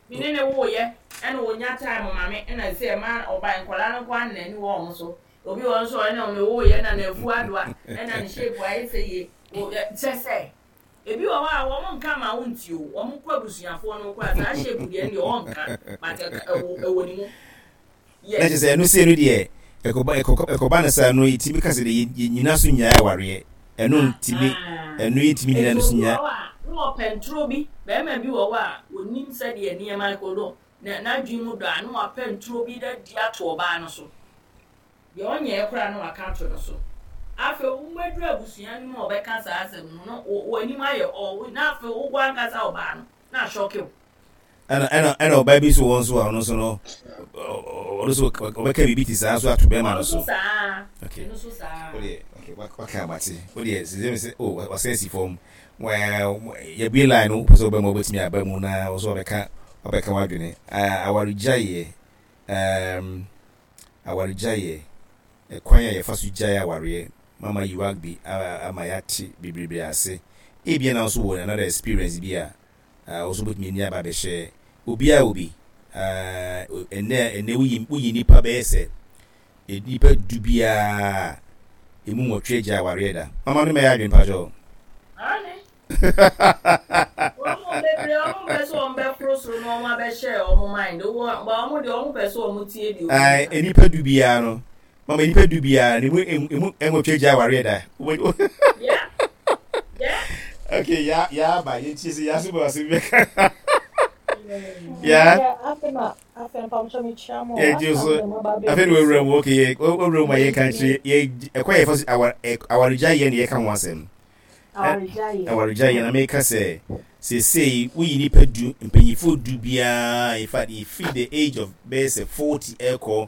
Me ne no woeɛ ɛna ɔnya time ma me ɛna sɛ ɛma ɔba nkwadaa no nko ara na n'ani wɔ wɔn so. Obi wɔ hɔ nso a ɔne me woeɛ na n'afu adoa ɛna ne shape ayɛ sɛ yie. Kyɛ sɛ ebi wɔ hɔ a wɔn nka ma wo nti o, wɔn kɔ abusuafoɔ no koraa saa shape deɛ ɛndeɛ ɔnka but ɛwɔ ne mu. Na kyerɛ sɛ ɛno sei no deɛ ɛkɔba ɛkɔ ɛkɔba no saa no yɛtumi ka sɛ deɛ yɛnyina so nnyae awareɛ ɛno ntumi ɛno yɛntumi nyina no so nya. Nti obi wɔ hɔ a na ɔpɛ ntoro bi, barima bi wɔ hɔ a ɔnim sɛdeɛ nneɛma kɔ no na n'adwene mu dɔ a na wapɛ ntoro bi de ato ɔbaa no so. Deɛ ɔnyɛɛ koraa na waka ato no so. Afei wobɛduru abusua no mu a ɔbɛka saa asɛm no na w'anim ayɛ ɔɔ na afei wo ankasa ɔbaa no na ahyɔke wo. Ɛna ɛna ɛna ɔbaa bi nso wɔ nso a ɔno nso no ɔno nso ɔbɛka biribi te saa nso ato bɛrima no so. Okay. Wodeɛ okay waka abate wodeɛ sɛ sɛ o wasan si fam yɛbue line no wopɛ sɛ wobɛma wobɛtumi aba mu na wo nso wabɛka wabɛka w'adwene awaregyaeɛ um, awaregyaeɛ ɛkwan a yɛfa so gyae awareɛ mama yiwagbi ama yɛate bebrebe ase ebia na nso wɔ another experience bi a Ah, wo nso wobɛtumi ani aba abɛhyɛ obiara wɔ bi. Ah, ɛnɛ ɛnɛ woyi woyi nnipa bɛyɛ sɛ nnipa du biara emu nwɔtwe agya awareɛ da. Mama no mɛyɛ adwene pakyɛ. Ane. Wɔn mu bebree wɔn mpɛ sɛ wɔn bɛforo soro na wɔn abɛhyɛ wɔn mind. Wɔn wɔn deɛ wɔn pɛ sɛ wɔn tie deɛ obi ka. Nnipa du biara no Mama nipa du biara ne mu emu nwɔtwe agya awareɛ da. Yeah. Yeah. Okay, ya ya ba yɛn tie sɛ ya so bɔ asɛm bɛka. Ya. Yɛ so afei na wawura mu okay yɛ wawura mu a yɛn kan kyerɛ yɛ ɛkɔ yɛ fa so awar awaregya yɛ na yɛka ho asɛm. Awaregya yɛ na meka sɛ seesei woyi nipa du mpanyinfoɔ du biara in fact efiri the age of bɛyɛ sɛ 40 ɛkɔ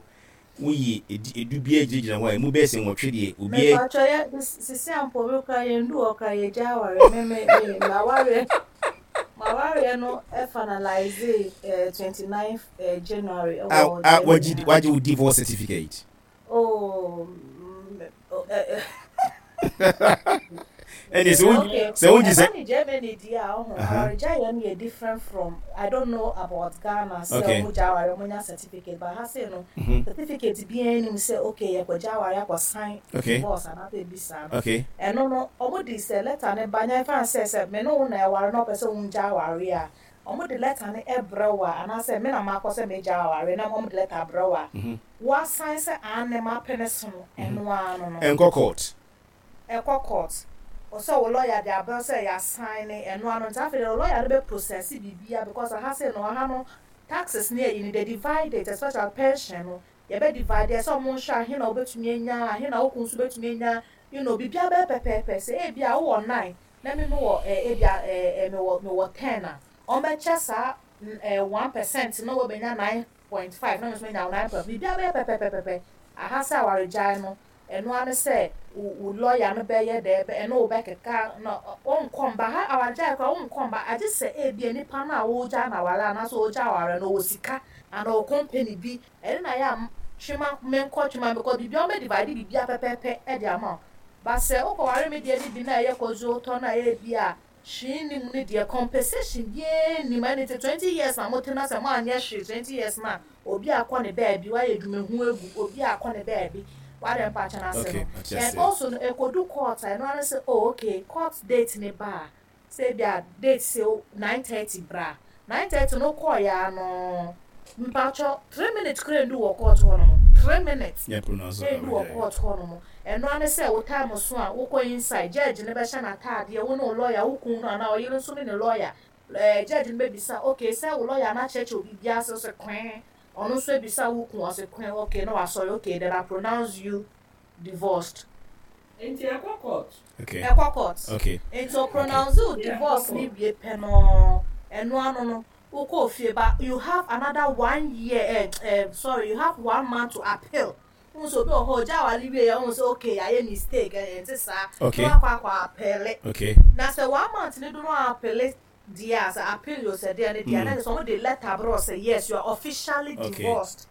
Woyi edu biara gyinagyina hɔ a, emu bɛyɛ sɛ nwɔtwe deɛ, obiara. Mepakyɛ yɛ sisi a mpo me koraa yɛn du hɔ koraa yɛ gya aware me me me m'awareɛ m'awareɛ no finalize eh, 29 eh, January ɛwɔ ah, ah, wagye wagye wo divorce certificate. Oh, mm, oh eh, eh. Ɛnni sɛ wo sɛ wo gye sɛ. Ɛba ne Germany di a ɔho awaregya yɛ no yɛ different from I don't know about Ghana sɛ ɔmo gya aware ɔmo nya certificate but ha sei no certificate biara nim sɛ okay yɛ kɔ gya aware akɔ sign divorce anaasɛ ebi saa no ɛno no ɔmo de sɛ letter ne ba nya ɛfa sɛ sɛ me ne wo na ɛware na ɔpɛ sɛ wo gya aware a ɔmo de letter no ɛbrɛ wo a anaasɛ me na makɔ sɛ me gya aware na ɔmo de letter abrɛ wo a wa sign sɛ aane mapene so no ɛno ara no no. Ɛnkɔ court. Ɛkɔ court. Ɔsɛ wo lawyer de abrɛ wo sɛ ya sign ɛno ano nti afei deɛ wo lawyer no bɛ process biribiara because aha sei no aha no taxes ne ayi no they divide it especially pension no yɛbɛ divide ɛsɛ ɔmo nhwɛ ahe na wobɛtumi anya ahe na wo kun nso bɛtumi anya you know biribiara bɛyɛ pɛpɛɛpɛ sɛ ebia wowɔ nine na me mewɔ eh ebia eh eh mewɔ mewɔ ten a ɔmo bɛkyɛ saa eh 1% na wabɛnya 9.5 na me nso manya 9.5 biribiara bɛyɛ pɛpɛpɛpɛpɛ aha sɛ awaregyae no Ɛno ara ne sɛ wo wo lɔya no bɛyɛ dɛ ɛne wo bɛkeka na ɔnkɔ mba ha awaregyae koraa wonkɔ mba agye sɛ ebia nipa no a woregyaa no aware anaasɛ ɔregyaa aware no ɔwɔ sika anaa ɔwɔ company bi ɛno na ɛyɛ a twe ma menkɔ twe ma because biribiara wɔbɛ divide biribiara pɛpɛɛpɛ de ama wo but sɛ wokɔware me deɛ no bi na ɛyɛ kɔdwo tɔ no a ebia Hwee nni mu no deɛ compensation biara nni mu ɛne nti 20 years na mote na sɛ moanyɛ hwee 20 years no a obi akɔ ne baabi wayɛ adwumahu agu obi akɔ ne baabi wade mpakyɛ no ase no and also no ɛkɔdu court a ɛno ara ne sɛ oh okay court date ne ba a sɛ ebi a date sɛ 9:30 bra 9:30 no wokɔɔyɛ a no Mpatsɔ, 3 minutes koraa nndu wɔ court hɔ nom, 3 minutes nndu wɔ court hɔ nom. Ɛno ara ne sɛ wo time so a wokɔ inside, judge no bɛhyɛ n'ataadeɛ, wo ne wo lawyer, wo kun no anaa ɔyere nso ne ne lawyer, ɛɛ judge no bɛbisa, okay sɛ wo lawyer no akyerɛkyerɛ wo biribiara ase, wose kwee, ɔno nso abisa wo kun, ɔse kwee, okay na wasɔre, okay then I pronounce you divorced. Nti ɛkɔ court. Okay. Ɛkɔ court. Okay. Nti o pronounce wo divorce no wie pɛ no, ɛno ano no, Wokɔɔ fie but you have another one year eh eh sorry you have one month to appeal. Wohu sɛ obi wɔ hɔ ɔgya aware wie yɛ wohu sɛ okay yɛayɛ mistake eh ɛnte saa Okay. na wakɔ akɔ appeal. Okay. Na sɛ one month no do na appeal deɛ a sɛ appeal o sɛ deɛ ne deɛ a na kyerɛ sɛ wɔde letter brɛ wo sɛ yes you are officially Okay. divorced.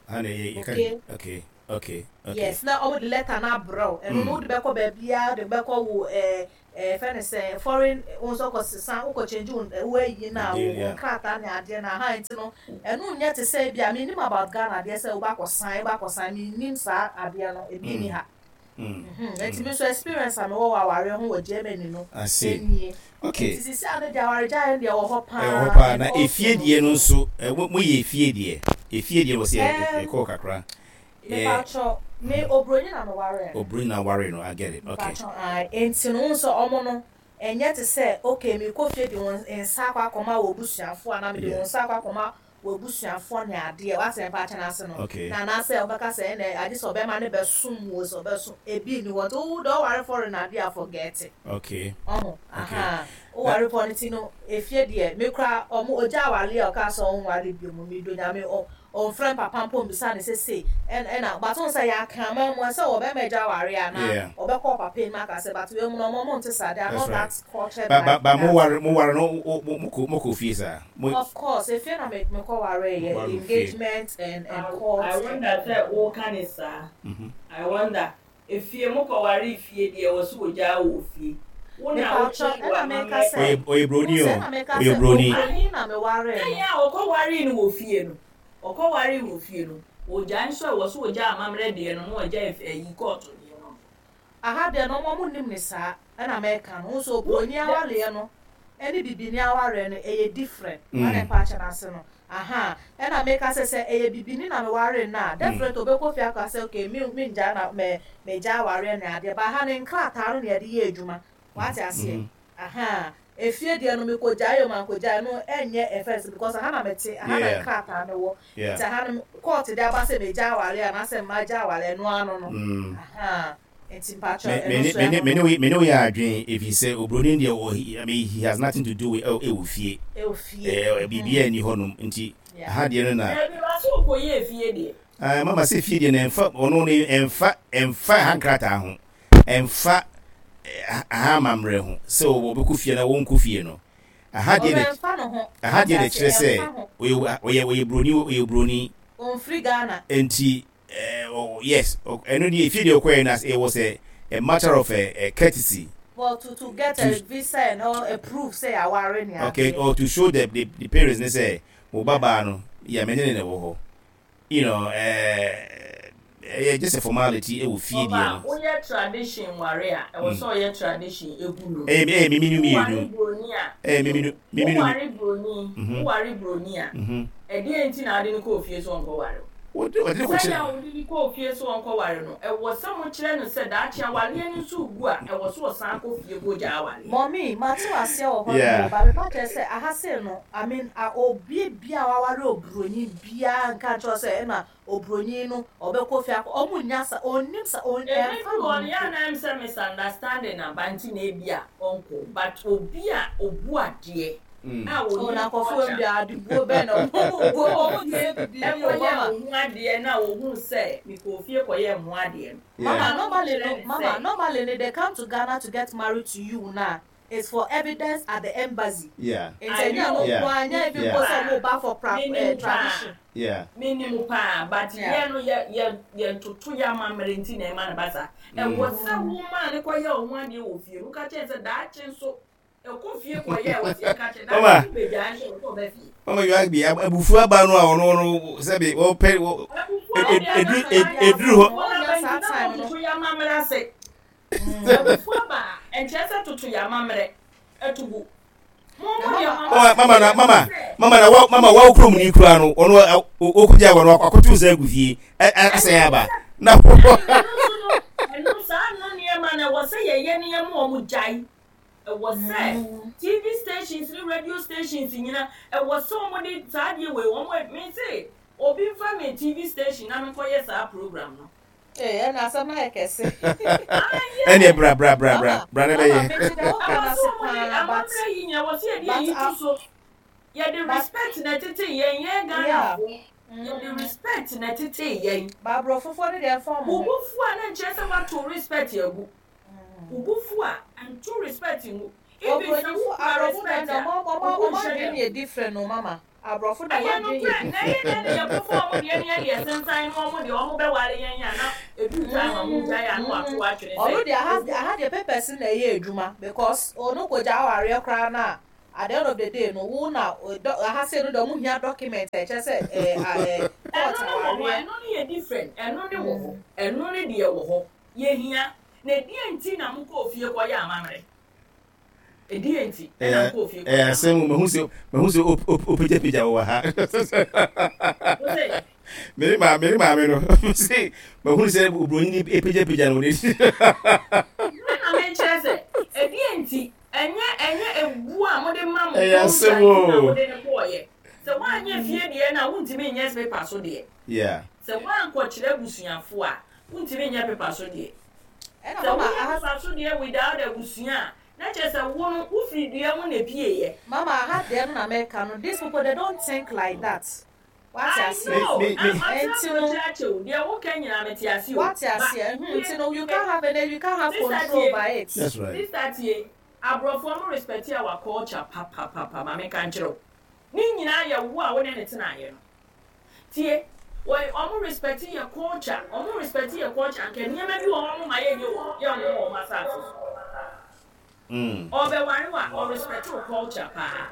Ha na ɛyɛ yɛka Okay. okay okay okay. Yes na wɔde letter no abrɛ wo ɛno no wode bɛkɔ baabiara wode bɛkɔ wo eh. Yɛfrɛ no sɛn, foreign, wo nso kɔ sesa, wokɔ change wo wo ayi no a, wo nkrataa ne adeɛ no, aha nti no, ɛno nyɛ te sɛ ebi a, mennim about Ghana adeɛ sɛ wobɛ akɔ sign, wobɛ akɔ sign, mennim saa adeɛ no, ebi nni ha. Nti me nso experience a mewɔ wɔ awareɛ ho wɔ Germany no, nie. Okay. Nti sisi ano deɛ awaregyaeɛ no deɛ ɛwɔ hɔ paa. Ɛwɔ hɔ paa, na efie deɛ no nso, moyɛ efie deɛ, efie deɛ wɔ sɛ ɛkɔɔ kakra. Mepakyɛw, me obroni na me waree no. Obroni na waree no, I get it, okay. Mepakyɛw, ae, enti no wohu sɛ ɔmo no, ɛnyɛ te sɛ okay mekɔ fie de wo nsa akɔ akɔma w'abusuafoɔ anaa mede wo nsa akɔ akɔma w'abusuafoɔ ne adeɛ, wate mepakyɛw no ase no, Okay. na anaasɛ ɔbɛka sɛ ɛnɛ agye sɛ ɔbɛma no bɛsom wo, sɛ ɔbɛsom, ebi nni hɔ, nti wo deɛ ɔware foreign adeɛ a forget it. Okay. Ɔho, Okay. ahaa, woware foreign nti no, efie deɛ, me koraa ɔmo, ogya awareɛ a ɔkaa sɛ ɔnware bio mu, medɔ Nyame, ɔ, Ɔnfrɛ papa mpo mbisa no sɛ sei ɛna but wohu sɛ yɛ akraman mu ɛsɛ ɔbɛma agya aware anaa Yeah. ɔbɛkɔ ɔpapa anim aka sɛ but wei mu no ɔmo ɔmo nte saa they are That's not right. that cultured Ba ba like ba mo that. ware mo ware no wo mo mo kɔ mo kɔ fie saa. Mo Of course efie na me mekɔ waree mo yɛ ware wɔ fie. engagement and I and court I and wonder sɛ woka ne saa. I wonder. Efie mo kɔ waree fie deɛ wɔ so ogyaa wo wɔ fie. Wo na wo Mepawkyɛw change ɛna meka w'amammerɛ. sɛ Ɔyɛ ɔyɛ wohu broni sɛ o ɛna meka ɔyɛ sɛ broni. obroni na mewaree Sɛn no. a ɔkɔ waree no wɔ fie no ɔkɔ waree wɔ fie no ogyae nso a wɔ so ogyaa amammerɛ deɛ no na ɔgyae ayi kɔɔto deɛ no nso. Aha deɛ no ɔmo ɔmo nnim no saa ɛna mɛka no wohu sɛ Wo obroni dɛ. awareɛ no ɛne bibini awareɛ no ɛyɛ different wane mpakyɛ no ase no ahaa ɛna meka sɛ sɛ ɛyɛ bibini na mewaree no a definitely ɔbɛkɔ fie aka sɛ okay me mengyae na mɛ megyae awareɛ ne adeɛ but aha no nkrataa no na yɛde yɛ adwuma wate aseɛ ahaa efie deɛ no mekɔgyae o mankɔgyae no ɛnyɛ ɛfɛs because aha na mete aha na nkrataa no wɔ nti aha no court de aba sɛ megyae awareɛ anaasɛ magyae awareɛ ɛno ano no ahaa nti mpakyɛw ɛno nso ɛno no. Me ne wo yɛ adwen ɛfiri sɛ obroni deɛ wɔ I mean he has nothing to do with ɛwɔ fie ɛwɔ fie biribiara nni hɔ nom nti aha deɛ no na. Dabi ba so ɔkɔ yɛ fie deɛ. Ah mama sɛ fie deɛ no ɛnfa ɔno no ɛnfa ɛnfa ha nkrataa ho ɛnfa ha amammerɛ ho sɛ ɔbɛkɔ fie na wɔnkɔ fie no aha deɛ na Ɔbɛnfa no ho aha wate deɛ na ase ɛkyerɛ sɛ ɛnfa ho. ɔyɛ ɔyɛ ɔyɛ broni ɔyɛ broni. Ɔnfiri Ghana. Nti Eh, oh, yes, ɛno deɛ efie deɛ ɔkɔɛ no it was a, a matter of a, a courtesy. Well, to to get to, a visa and all, a proof sɛ yɛaware ne okay, adeɛ. or to show the, the, the parents ne sɛ mo ba baa no, yɛ me ne ne na ɛwɔ hɔ. You know, eh, ɛyɛ just a formality ɛwɔ fie deɛ Ɔba, no. woyɛ tradition ware a, ɛwɔ sɛ ɔyɛ tradition egu no. Ɛyɛ ɛyɛ mimi no Woware mmienu. broni a, Ɛyɛ mimi no mimi no. woware broni, woware broni a, ɛdeɛn nti na wode no kɔɔ fie sɛ ɔnkɔware wo? Wɔde wɔde no kɔkyerɛ. Sɛnea wode no kɔɔ fie sɛ ɔnkɔware no, ɛwɔ sɛ mokyerɛ no sɛ daakye awareɛ no nso regu a, ɛwɔ sɛ ɔsan kɔ fie kɔgya awareɛ. Mummy, mate wo aseɛ wɔ hɔ nom o, but mepa kyerɛ sɛ aha sei no, I mean, a obie biaa waware obroni biaa nka nkyerɛ wo sɛ ɛna obroni no ɔbɛkɔ fie akɔ, ɔmo nnya sa, ɔnnim sa, ɔn, ɛmfa Ɛbɛduru ne hɔ ho no, yɛ a mpo. na ɛm sɛ misunderstanding aba nti na ebia ɔnkɔ, but obi a ɔbu adeɛ a Oh, ɔnim na nkurɔfoɔ culture. bi adebuo bɛn na wɔn buo wɔn nyɛ bibi ni o Ɛkɔyɛɛ mama. wo ho adeɛ na ɔhuu sɛ mekɔɔ fie kɔyɛɛ me ho adeɛ no, Mama na normally wokyerɛ no no mama sɛ. normally no they come to Ghana to get married to you na it's for evidence at the embassy. Nti I ɛnyɛ ɛno know, nko ara ɛnyɛ even menim mpo sɛ paa, wɔn ba for pra menim eh, paa, tradition. menim paa, but Yeah. yɛn no yɛ yɛ yɛtoto yɛn amammerɛ nti na ɛma no ba saa. Ɛwɔ sɛ womaa no kɔyɛ wo ho adeɛ wɔ fie no, woka kyerɛ no sɛ daakye nso Ɛkɔ fie kɔ yɛ wɔ sɛ ka kyɛ na wo bɛ gya nso wɔ bɛ fie. Mama you agbi abufu aba no a ɔno no sɛbi ɔpɛ eduru eduru hɔ. Toto yɛ amammerɛ ase. Abufu aba nkyerɛ sɛ toto yɛ amammerɛ ɛto gu. Mama na mama mama na wa mama wa kurom ni kura no ɔno okugya wɔ no akoto nsa agu fie asɛn aba na. Ɛno saa no nneɛma na ɛwɔ sɛ yɛyɛ nneɛma wɔn gyae. Ɛwɔ sɛ TV stations ne radio stations nyina ɛwɔ sɛ wɔn de saa adeɛ wei wɔn me se obi nfa me TV station na me nkɔ yɛ saa program no. Ee ɛna asɛm no ayɛ kɛse. Ɛne bra bra bra bra bra na bɛyɛ. Ɛwɔ sɛ wɔn de amammerɛ yi nyina ɛwɔ sɛ yɛde ayi to so. Yɛde respect na ɛtete yɛn yɛn Ghana fo. Yɛde respect na ɛtete yɛn. Ba aborɔfofoɔ no deɛ ɛmfa wɔn ho. Wo bo fu a na nkyerɛ sɛ woato respect agu. Wo bo fu a, nto respect ngu. Even sɛ wo kura respect a, wo bo nhyɛ dam. Obronyifo, aborɔfo deɛ ɔmo adwene yɛ different o mama. Aborɔfo de Ɛyɛ wɔn adwene nokorɛ, yɛ na ɛyɛ dɛn na yɛkɔfa wɔn deɛ ne yɛde ɛsensan ne wɔn deɛ wɔn bɛware yɛn a na ɛduru time a wɔgyae a na wɔato atwene sɛ Ɔno deɛ aha ɛgu. aha deɛ papers na ɛyɛ adwuma because ɔno kɔgya awareɛ koraa no a at the end of the day no wo na dɔ aha sei no deɛ ɔmo hia document a ɛkyerɛ sɛ ɛɛ a ɛɛ court Ɛno ne wɔ hɔ, awareɛ. ɛno ne yɛ different, ɛno ne wɔ hɔ, ɛno ne deɛ wɔ hɔ, yɛhia. Na ɛdeɛn nti na mokɔɔ fie kɔyɛ amammerɛ? Ɛdeɛn nti na mokɔɔ fie Ɛyɛ kɔyɛ asɛm amammerɛ? o, mahu sɛ mahu sɛ wopagyapagya wɔ ha. Wo se? Me maame me maame no se mahu sɛ oburoni ni epagyapagya no wɔ n'akyi. Me na mekyerɛ sɛ ɛdeɛn nti, ɛnyɛ ɛnyɛ ebuo a mode ma mo Ɛyɛ culture asɛm nti na o. mode no kɔɔyɛ. Sɛ woanyɛ fie deɛ no a wontumi nyɛ paper so deɛ. Yeah. Sɛ woankɔkyerɛ abusuafoɔ a wontumi nyɛ paper so deɛ. Ɛna Sɛ mama woyɛ aha. paper so deɛ without abusua a, na kyerɛ sɛ wo no wofiri dua mu na epieeɛ. Mama aha deɛ no na meka no these people they don't think like that wate I aseɛ know, Me me ah, me. matena nti no aburokyire akyɛ o, deɛ woka nyinaa mete ase o, wate ba aseɛ hmm tie, nti no you tie, can't have any you can't have sister control tie, over it. That's right. sister tie, aborɔfoɔ mo respect our culture papapapa, ma menka nkyerɛ wo, ne nyinaa yɛ wo a wo ne no tenaeɛ no. Tie, wɔ ɔmo respect yɛ culture, ɔmo respect yɛ culture, anka nneɛma bi wɔ hɔ ɔmo ma yɛnyɛ wɔ yɛnwo wɔ ɔmo asaase so. Ɔbɛware wo a, ɔ respect wo culture paa.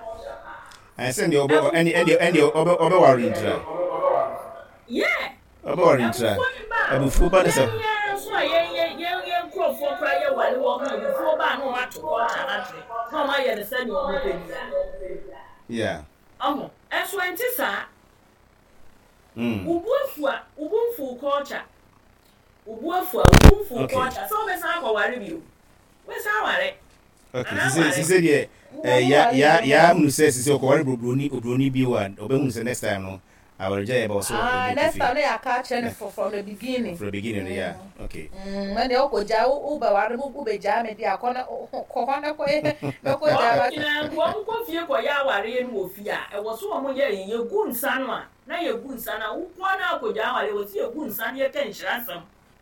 Ɛn sɛ deɛ ɔbɛ ɛne ɛne ɛne ɔbɛ ɔbɛware ntira. Yeah. Ɔbɛware ntira. Abufuo ne ba a, Abufuo ba ne sɛ. yɛn yɛn nso a yɛn yɛn yɛn yɛn nkorɔfoɔ koraa yɛ ware wɔn a abufuo ba a na wɔn ato culture no akyerɛ na wɔn ayɛ no sɛdeɛ wɔn pɛ biara. Yeah. Ɔho, ɛnso ɛnte saa. Wo bo afu a, wo bo mfu wo culture. Wo bo afu a, wo bo mfu wo culture. Sɛ wobɛsan akɔware bio. Wobɛsan aware. Okay, Anaa sise aware. sise deɛ eh, ya ya ya hunu sɛ sise ɔkɔware broni obroni bio a ɔbɛhunu sɛ next time no awaregya yɛ ba ɔsɛ Ah, ɔbɛkɔ next fie. time na yɛaka akyerɛ no from the beginning. From the beginning no, yeah. Okay. Ɛnna ɔkɔgya wo wobɛware wo wobɛgyaa me deɛ akɔ na kɔ hɔ na kɔyɛ na kɔgyaa Wɔn ba. nyinaa nko wɔn kɔ fie kɔyɛ awareɛ no wɔ fie a, ɛwɔ so wɔn yɛ yɛgu nsa no a, na yɛgu nsa no a, wokɔ na akɔgyaa awareɛ wɔ so yɛgu nsa no yɛka nhyira asɛm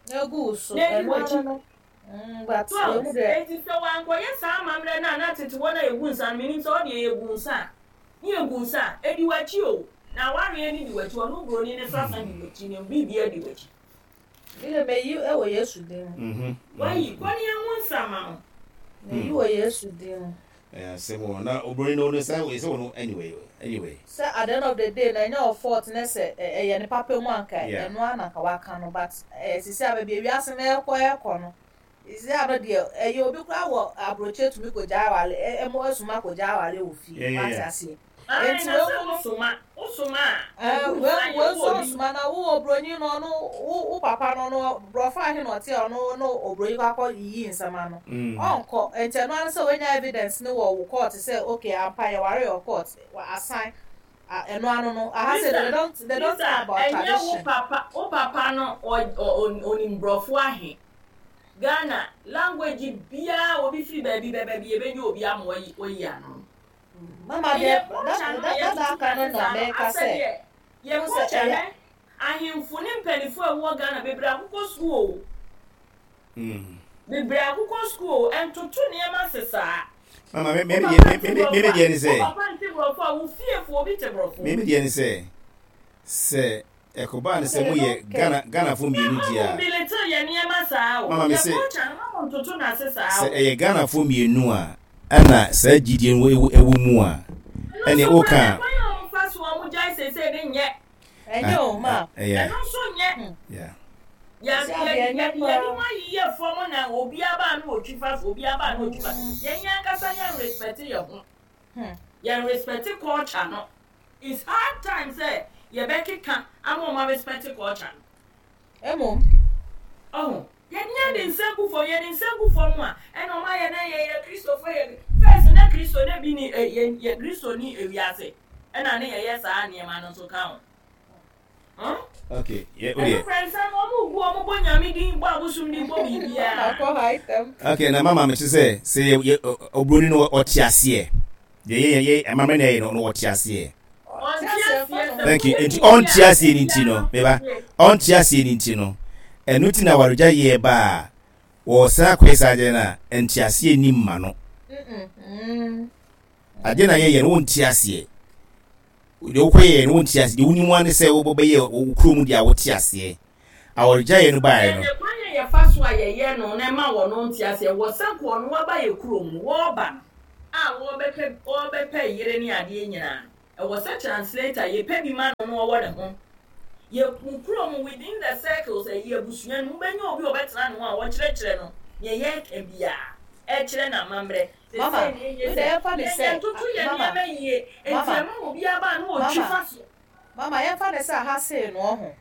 Na egu wo so na ɛdi ɛno ano w'akyi. no. But So wei mu deɛ. enti sɛ wankɔyɛ saa amammerɛ no a na tete hɔ no a yɛgu nsa no, menim sɛ ɔdeɛ yɛgu nsa a, ne yɛgu nsa a, ɛdi w'akyi o, na awareɛ no di w'akyi, ɔno buroni no sasa di w'akyi, ne biribiara di w'akyi. Me de meyi wɔ Yesu din mu. Wayi, kɔ ne yɛnwo nsa ma wo. Meyi wɔ Yesu din mu. Ɛyɛ asɛm o, na obroni no no sɛ sɛ wɔn anyway anyway. Sɛ at the end of the day no ɛnyɛ wo fault ne sɛ ɛyɛ ne papa mu anka ɛno ara na anka waka no but sisi a baabi a wiase no ɛrekɔ ɛrekɔ no sisi a no deɛ ɛyɛ obi koraa wɔ aburokyire tumi kɔ gyae awale ɛmo asuma kɔ gyae awale wɔ fie wate aseɛ. Ae Enti na wei sɛ mu no. wosoma, wosoma a, Ɛɛ, ɛgu wei nsa yɛ wei nso wɔ obi. nsoma na wo obroni no ɔno wo wo papa no no borɔfo ahe na ɔte a ɔno no obroni kɔ akɔ yiyi nsɛm ano. Ɔnkɔ. Enti ɛno ara ne sɛ wanya evidence no wɔ wo court sɛ okay ampa yɛware wɔ court, wa asan a ɛno ano no. Aha sei Lisa, they don't they don't Lisa, care about ɛnyɛ wo tradition. papa, wo papa no ɔ ɔ onim borɔfo ahe? Ghana, language biara obi firi baabi bɛba bi yɛbɛnya obi ama wayi wayi ano. Mama deɛ dada aka no na meka sɛ Yɛ wohu sɛ culture ɛyɛ. hɛ ahemfo ne mpaninfoɔ a ɛwɔ Ghana bebree akokɔ sukuu o bebree akokɔ sukuu o ɛntoto nneɛma se saa. Mama me me Wo me papa me nte me borɔfo me a deɛ ne wo sɛ papa nte borɔfo a wo fiefoɔ obi te borɔfo. me me deɛ ne sɛ sɛ ɛkɔbaa no sɛ They moyɛ don't care. Ghana Ghanafoɔ mmienu Mma deɛ mo a mbilittle yɛ nneɛma saa o mama me yɛ se culture no mma mo ntoto no ase saa sɛ o. ɛyɛ Ghanafoɔ mmienu a ɛna saa gyidie no ɛwɔ ɛwɔ mu a Ɛno ɛneɛ nso woka koraa a ɛkwan a wɔn fa so wɔn gyae seesei no nyɛ. Ɛnyɛ o ma. ɛyɛ Ɛno nso nyɛ. yeah. Yɛ Sisi yɛ adeɛ yɛ ɛnyɛ yɛde koraa. mu ayeyɛ fam na obiara ba na otwi fa so obiara ba na otwi fa so. Yɛn yɛn ankasa yɛn respect yɛn ho. Yɛn respect culture no. It's hard time sɛ yɛbɛkeka ama wɔn a respect culture no. Mmom. Ɔho, yɛn yɛde nsa gu fam, yɛde nsa gu fam a, ɛna wɔn ayɛ na yɛyɛ Kristofo yɛ first na Kristo na bi ni yɛ yɛ Kristo ni ewiase ɛna ne yɛyɛ saa nneɛma no nso ka ho. Huh? Okay, yɛ o Ɛno deɛ. kura nsa no wɔn gu wɔn bɔ nyame din bɔ abosom din bɔ biribiara. Akɔ high temp. Okay, na mama mete sɛ sɛ yɛ yɛ obroni no ɔte aseɛ. Deɛ yɛ yɛ amammerɛ na ɛyɛ no no ɔte aseɛ. Ɔnte aseɛ sɛ Thank you. woyɛ Nti biribi ɔnte a aseɛ ne nti no, meba. Ɔnte aseɛ ne nti no, ɛno ti na awaregya yɛ ba a wɔsan akɔyɛ saa adeɛ no a nteaseɛ nni mma no. Adeɛ na yɛyɛ no wonte aseɛ. Deɛ wokɔyɛɛ no wonte aseɛ, deɛ wonim ara ne sɛ wobɛyɛ wo kurom deɛ a wote aseɛ. Awaregyaeɛ no baeɛ no. Ɛnde kwan a yɛfa so a yɛyɛ no na ɛma wɔn nte aseɛ wɔ sɛ nka ɔno aba yɛ kurom no, wɔreba no a wɔrebɛpɛ wɔrebɛpɛ yere ne adeɛ nyinaa no, ɛwɔ sɛ translator yɛpɛ bi ma no na ɔwɔ ne ho. Yɛ mo kurom within the circles ɛyi abusua no mu wobɛnya obi a ɔbɛtena ne ho a ɔkyerɛkyerɛ no deɛ yɛreka biara, ɛkyerɛ no amammerɛ. Mama, Seesei deɛ ɛnyɛ wei sɛ deɛ yɛmfa no yɛn sɛ, yɛntoto yɛn mama, nneɛma yie nti mama, ɛma obiara ba a na ɔtwi mama, fa so. mama, yɛmfa no sɛ aha sei no ɔho,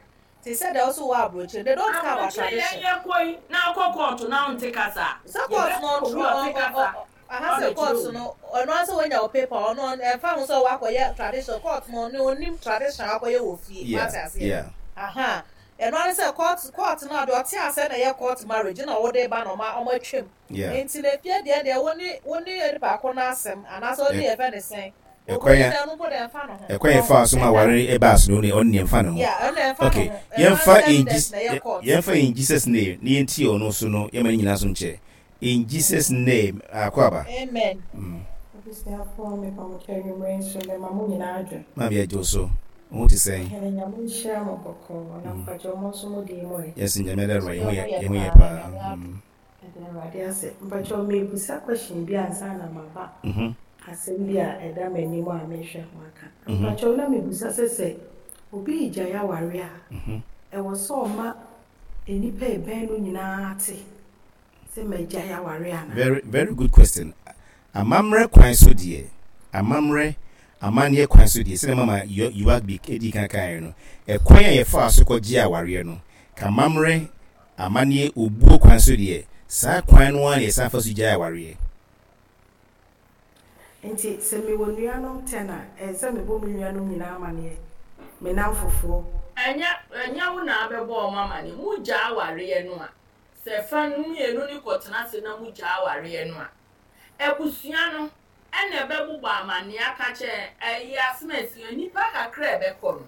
te sɛ deɛ wo so wɔ aburokyire, they don't care about Aburokyire yɛn tradition. yɛ kɔ yi na akɔ kɔɔto na wonte kasa a, Sɛ court no yɛbɛfa obi ɔtwerɛ a ɔ ɔte ɔ kasa ɔ aha sɛ wabɛkyerɛ court wo. no ɔno ara sɛ wanya wo paper ɔno ɔn ɛmfa ho sɛ wakɔyɛ tradition court no ɔno ɔnim tradition a wakɔyɛ wɔ fie Yeah, wate aseɛ yeah. aha ɛno ara ne sɛ court court no a deɛ ɔte aseɛ na ɛyɛ court marriage na wode ba na ɔma ɔmo atwam Yeah. nti na efie deɛ deɛ wo ne wo ne nipa ko no asɛm anaasɛ wo ne yɛfɛ ne sɛn Ɛkwan obroni a deɛ ɔno mpo deɛ ɛmfa ne ho ɛkwan a ɔho yɛfaa so ma ɛna aware baa so no ɔno deɛ ɛmfa ne ho. yeah ɔno ɛmfa ne Okay, ho ɛno ara yɛmfa ne sɛ in evidence Jesus na ɛyɛ court. yɛmfa in Jesus name na yɛntie ɔno so no yɛma ne nyinaa so nkyɛ. In Jesus name, Akwaaba. Amen. Abusuafoɔ mepa mo kyɛw anwummerɛ nso mema mo nyinaa adwo. Maame yɛgye wo so. Wo ho te sɛn? Ɔhene Nyame nhyira mo bɔkɔɔ na mpakyɛw mo nso mo deɛ mu ɛ? Yɛn nso Nyame adaworo Yɛn yɛn ho ho yɛ yɛ yɛn ho yɛ paa, paa. Nyame adom. Yɛda Awurade ase. Mpakyɛw merebisa question bi ansa na maba asɛm bi a ɛda m'anim a merehwɛ ho aka. Mpakyɛw na mebisa sɛ sɛ obi regyae aware a, ɛwɔ sɛ ɔma nnipa a ɛbɛn no nyinaa te sɛ magyae aware anaa? Very very good question. Amammerɛ kwan so deɛ, amammerɛ, amanneɛ kwan so deɛ, sɛdeɛ mama Yuagbi dii kan kaeɛ no, ɛkwan a yɛfaa so kɔgyee awareɛ no, ka amammerɛ, amanneɛ, obuo kwan so deɛ, saa kwan no ara na yɛsan fa so gyae awareɛ. Nti sɛ mewɔ nuanom ten a, ɛsɛ sɛ mebɔ me nuanom nyinaa amaneɛ, me nnamfofoɔ. Ɛnyɛ ɛnyɛ wo na abɛbɔ wɔn amaneɛ. Mogyaa awareɛ no a, sɛ fa no mmienu no kɔtena ase na mogyaa awareɛ no a, abusua no na ɛbɛbobɔ amaneɛ aka akyerɛ ɛyi asɛm a nnipa kakra a ɛbɛkɔ no.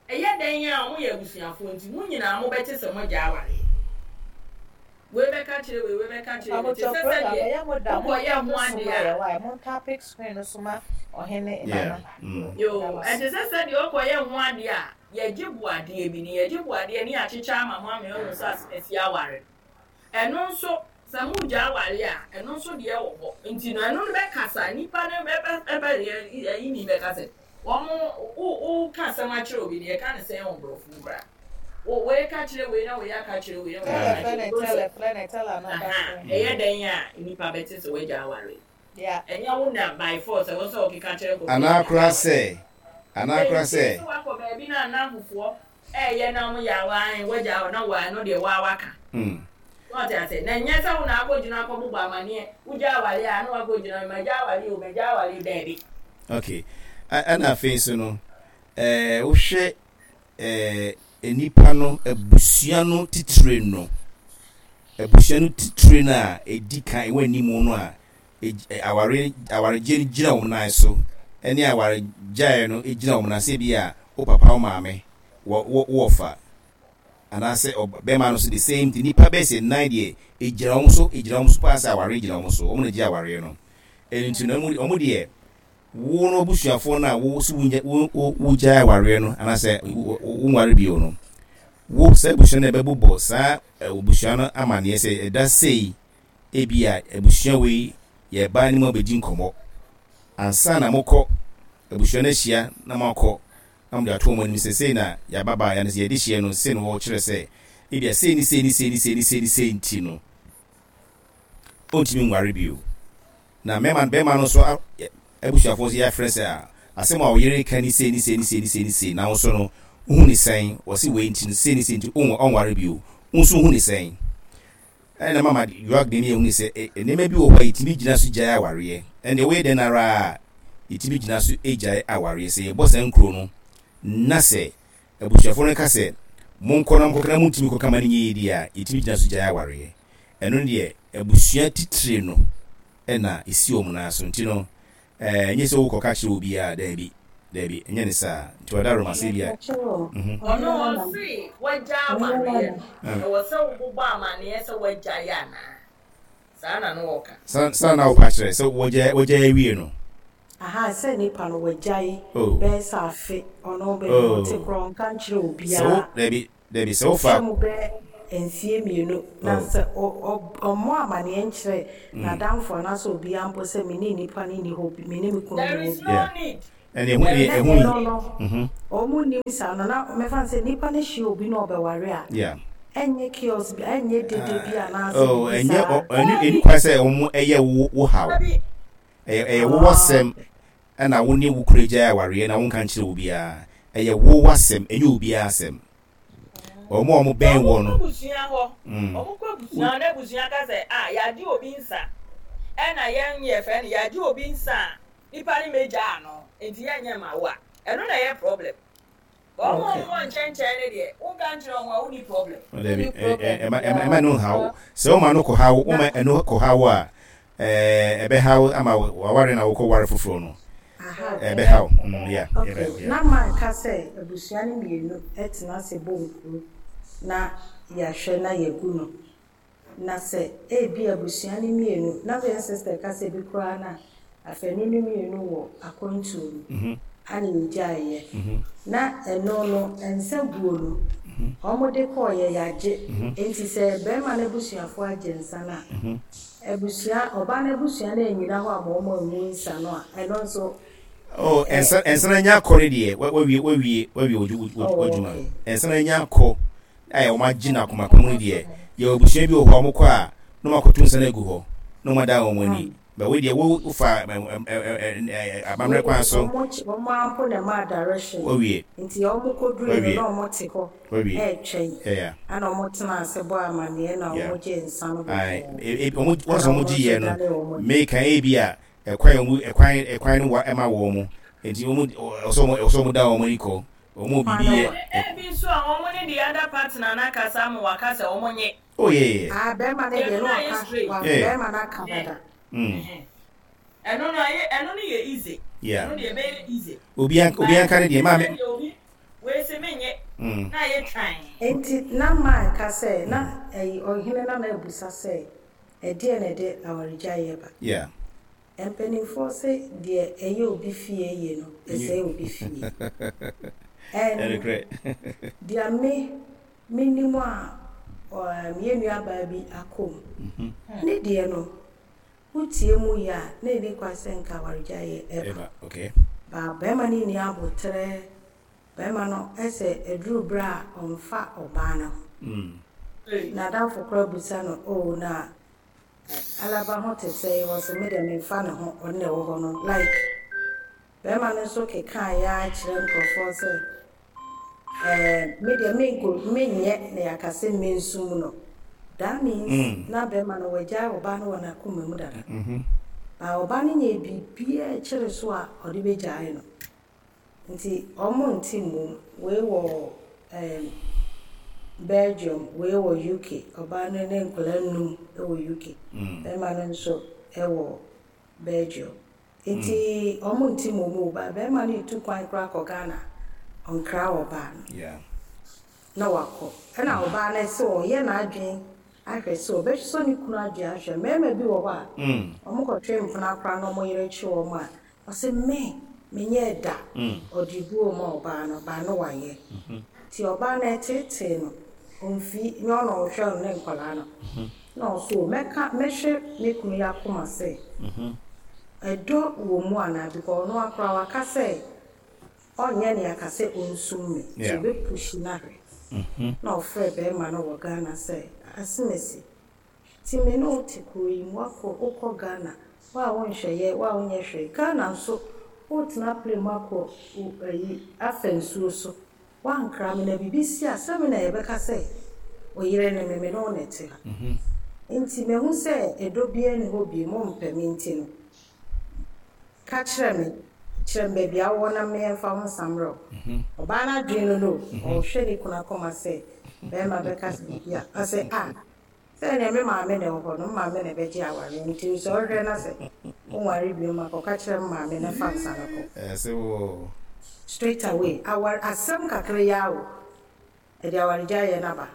Ɛyɛ dɛn a wɔyɛ abusuafoɔ nti, mo nyinaa mobɛte sɛ moagya awareɛ. Wei bɛka akyerɛ wei, wei bɛka akyerɛ wei, te Mpabokyɛw sɛ program sɛdeɛ ɛyɛ mo da mo wokɔyɛ ntape ho so adeɛ ma yɛ a. why mo ntape screen no so ma ɔhene Yeah. nana Yoo, meda mo ɛte ase. sɛ sɛdeɛ wokɔyɛ ho adeɛ a, yɛgye boadeɛ bi, ne yɛgye boadeɛ ne yɛakyekyɛ ama mo ama yɛahu sɛ asemasi aware no. Ɛno nso, sɛ mogya aware a, ɛno nso deɛ wɔ hɔ. Nti no, ɛno no bɛkasa, nnipa no bɛ, bɛ, bɛ, ayi ni bɛka sɛ, wɔn, wo, woka asɛm akyerɛ obi no, yɛka no sɛn wɔ borɔfo mu koraa? Wo, wei ka kyerɛ wei na wei aka kyerɛ wei na wei Tɛlɛ aka frɛ kyerɛ ne wei. tɛlɛ frɛ ne tɛlɛ no ka Aha, frɛ. ɛyɛ dɛn a nnipa bɛte sɛ wagya aware? Yeah. Ɛnyɛ wo na by force ɛwɔ sɛ ɔkeka kyerɛ nkurɔfoɔ sɛ Anaa magya koraa aware. sɛ, anaa koraa Enti sɛ. sɛ woakɔ baabi na nnamfofoɔ ɛɛyɛ na wɔyɛ a waa wagya hɔ na waa ɛno deɛ waa waka. So ɔte aseɛ? Na ɛnyɛ sɛ wo na akɔgyina akɔbobɔ amaneɛ, wogya awareɛ a na wakɔgyina magya awareɛ o, magya awareɛ daabi. Okay. Ɛna afei nso no, ɛɛ wohwɛ ɛɛ nnipa no abusua no titire no, abusua no titire no a ɛdi kan ɛwɔ anim no a aware awaregyeɛ no gyina wɔn nan so ɛne awaregyaeɛ no gyina wɔn nan sɛ bi a wo papa wo maame wɔ wɔ wɔfa anaasɛ bɛrima no so the same thing nipa bɛyɛ sɛ nan deɛ egyina wɔn so egyina wɔn so paa sɛ aware gyina wɔn so wɔn na gye awareɛ no ɛno nti no wɔn deɛ wo no abusuafoɔ no a wo so wo wo wo gyae awareɛ no anaasɛ wo wo nware bio no wo saa abusua no ɛbɛbobɔ saa abusua no amaneɛ sɛ ɛda sei Ebia abusua wei yɛ baa ne mu abɛdi nkɔmmɔ ansa na mokɔ abusua no ahyia na moakɔ na mode ato wɔn anim sɛ sei na yɛababaa yɛn sɛ yɛde hyeɛ no sei na wɔkyerɛ sɛ ebia sei ne sei ne sei ne sei ne sei ne sei nti no ɔntumi nware bio. Na mmarima bɛrima no nso abusuafoɔ nso yɛafrɛ sɛ a asɛm a ɔyere ka ni sei ne sei ne sei ne sei ne sei na wo nso no wohu ne sɛn wɔse wei nti no sei ne sei nti ɔnware bio wo nso wohu ne sɛn. Ɛna mama Yoag de ne yɛhunu sɛ nneɛma bi wɔ hɔ a yɛtumi gyina so gyae awareɛ. Ɛnde woyɛ dɛn ara a, yɛtumi gyina so gyae awareɛ. Sɛ yɛbɔ saa nkuro no na sɛ abusuafoɔ no ka sɛ monkɔ na monkɔka na montumi kɔka ma no nyɛ yie deɛ a, yɛtumi gyina so gyae awareɛ. Ɛno no deɛ abusua titire no na ɛsi wɔn nan so. Nti no, ɛnyɛ sɛ wokɔka kyerɛ obiara, daabi, daabi, ɛnyɛ ne saa. Nti ɔda Roma sɛ bi a. Ɔno ɔse wagya awareɛ no, ɛwɔ sɛ wobobɔ amaneɛ sɛ wagyae anaa? Saa na na ɔka. Saa na wopɛ akyerɛ sɛ wagyae awie no? Ahaa sɛ nipa no wagyae Oh. bɛyɛ sɛ afe ɔno baabi a ɔte Oh. koraa ɔnka nkyerɛ Sɛ wo obiara. dabi dabi sɛ wofa. Atwa mu bɛyɛ mfeɛ mmienu na Oh. sɛ ɔ ɔ ɔmmɔ amaneɛ nkyerɛ n'adamfo anaasɛ obiara mpo sɛ me ne nipa no nni hɔ bi me ne me kunu There nni hɔ is bio. no Yeah. need. Ɛne ɛho There ɛne is Na ɛho no yi. ɛno need. no Mhm. wɔn nnim saa no na mɛfa no sɛ nipa no hyia obi na ɔbɛware a Yeah. ɛnyɛ chaos bi ɛnyɛ dede bi anaasɛ Oh, biribi ɛnyɛ saa. ɔ ɛni ɛni Dabi. kwan sɛ wɔn ɛyɛ wo wo haw. Dabi. Ɛyɛ ɛyɛ wo Ah, asɛm okay. ɛna wo ne wo kunu agyae awareɛ na wonka nkyerɛ obiara. Ɛyɛ wo w'asɛm, ɛnyɛ obiara asɛm. Wɔn a wɔn Sɛ bɛn wɔn wɔ kɔ no. abusua hɔ, Mm. wɔn kɔ abusua hɔ na abusua ka sɛ, ah, yɛagye obi nsa, ɛna yɛn yɛfrɛ no, yɛagye obi nsa a, nipa no mmɛgyaa no, nti yɛnyɛ mma wo a, ɛno na ɛyɛ problem. But wɔn a Okay. wɔn wɔ nkyɛnkyɛn no deɛ, wonka nkyerɛ wɔn a, wonni problem. Dabi, Wonni problem ɛma ɛma biara ɛma no nhaw. because Sɛ woma no kɔhaw, Na woma ɛno kɔhaw a, ɛɛ ɛbɛhaw ama waware na wokɔ ware foforɔ no. aha Ɛbɛhaw. Mm, yeah, Okay, yeah, yeah. na manka sɛ abusua no mmienu tena ase bɔ nkuro na yɛahwɛ na yɛagu no. Na sɛ ebia abusua no mmienu, na yɛn sister ka sɛ ebi koraa na afanu no mmienu wɔ akwantuo mu ana yɛgyaeɛ. Na ɛno no, nsa guo no, wɔde kɔeɛ yɛagye. Enti sɛ barima no abusuafoɔ agye nsa no a, abusua, ɔbaa no abusua no annyina hɔ amma wɔn angu nsa no a, ɛno nso Oh, ɛ. nsa nsa no anya akɔ no deɛ, wawie wawie wawie Oh, w'adwuma. okay. Nsa no anya akɔ a wɔn agye no akoma pa mu no deɛ, yɛwɔ abusua bi wɔ hɔ a wɔkɔ a na wɔn akɔto nsa no agu hɔ na wɔn adan wɔn ani. But wei deɛ wo wofa amammerɛ Wei kwan deɛ so. wɔn kye wɔn ara mpo na ɛmaa direction Wawie. nti wɔn kɔduruiɛ no Wawie. na wɔn te hɔ Wawie. ɛretwɛn Yeah. ɛna wɔn tenaa ase bɔɔ amaneɛ na Yeah. wɔn gyee nsa no Aye. bɔkɔɔ E, e, wɔn wɔn ɛna sɛ wɔn wɔn gye nso yɛ no, danee wɔn ani. meka ebi a ɛkwan wɔn ɛkwan ɛkwan no wa ɛma wɔn mo. Nti wɔn ɔsɔ wɔn ɔsɔ wɔn da wɔn ani kɔ. Wɔn mu Kwan biribi no yɛ. wa. Ebi nso a wɔn ne the other partner no akasa ama wɔaka sɛ wɔn nye. Oh yeah yeah. Ah bɛrima no deɛ Ɛno na no ayɛ waka straight. wa Yeah. bɛrima no aka dada. Ɛno no ayɛ ɛno no yɛ easy. Yeah. Ɛno deɛ ɛbɛyɛ easy. Obi an obi anka ne deɛ maame. But obi wei se menyɛ na ayɛ twan. Enti na man ka sɛ na ɛyi ɔhene na na abusa sɛ ɛdeɛn na ɛde awaregyaeɛ ba. Yeah. Mpanimfoɔ se deɛ ɛyɛ obi fie yie no, ɛsɛe obi fie. And Ɛnokorɛ. deɛ me menim a um, yɛn nuabaa bi akɔ mu, ne deɛ no, wotie mu yie a, na ɛnni kwan sɛ nka awaregyaeɛ ɛba. Ɛba, okay. Ba barima no nni aboterɛ, barima no sɛ ɛduru berɛ a ɔmfa ɔbaa no ho. N'adamfo koraa bisa no, oh na Alaba ho te sɛn? Ɔse me deɛ menfa ne ho, ɔno na ɛwɔ hɔ no like bɛɛma no nso kekaeɛ ara kyerɛ nkorɔfoɔ sɛ ɛɛ me deɛ menko menyɛ na yɛaka sɛ mensum no that means na bɛɛma no wagyae ɔbaa no wɔ n'akoma mu dada but ɔbaa no nyɛɛ biribiara ɛkyere so a ɔde bɛgyae no. Nti ɔmo nte mmom, wei wɔ ɛɛm Belgium, wei wɔ UK, ɔbaa no ne nkwadaa nnum wɔ UK, bɛɛma no nso wɔ Belgium. Nti ɔmo nte mmom o, but bɛɛma no retu kwan koraa kɔ Ghana a, ɔnkra ɔbaa no na wakɔ. Ɛna ɔbaa no sɛ ɔyɛ n'adwene ahwɛ sɛ ɔbɛsɔ ne kunu adwene ahwɛ. Mmarima bi wɔ hɔ a, ɔmo kɔtwe mpena koraa na ɔmo yere kye wɔn a, Ɔse me menyɛɛ da ɔde buo ma ɔbaa no but no wayɛ nti ɔbaa no ɛteetee no ɔnfi nyɛ ɔna ɔhwɛ no ne nkwadaa no na ɔse o mɛka mɛhwɛ me kunu yi akoma sɛ ɛdɔ wɔ mu anaa because ɔno ara koraa waka sɛ ɔnyɛ nea aka sɛ ɔnsum me nti ɔbɛ pushi no ahwɛ na ɔfrɛ bɛɛma no wɔ Ghana sɛ asemasi Nti me ne wo te kuro yi mu, woakɔ, wokɔ Ghana, wo a wonhwɛ yɛ, wo a wonyɛ hwee, Ghana nso wotena plane mu akɔ wo ayi, afa nsuo so, woankra me na biribi si a, sɛ me na yɛbɛka sɛ wo yere ne me, me ne wo na ɛte ha. Nti mahu sɛ ɛdɔ biara nni hɔ bio, mompɛ me nti no, Ka kyerɛ me, kyerɛ me baabi a wowɔ na meɛmfa wo nsa mmerɛ wo. Ɔbaa no adwene no no o, ɔrehwɛ ne kunu akoma sɛ barima bɛka sɛ biribi a, ɔse ah, sɛ ɛneɛ me maame na ɛwɔ hɔ no, me maame na ɛbɛgye awareɛ nti sɛ wohwɛ na sɛ wonware biom a, kɔka kyerɛ me maame na fa nsa no kɔ. Ɛse wo. Straight away, aware, asɛm kakra yi ara o, ɛde awaregyaeɛ no aba.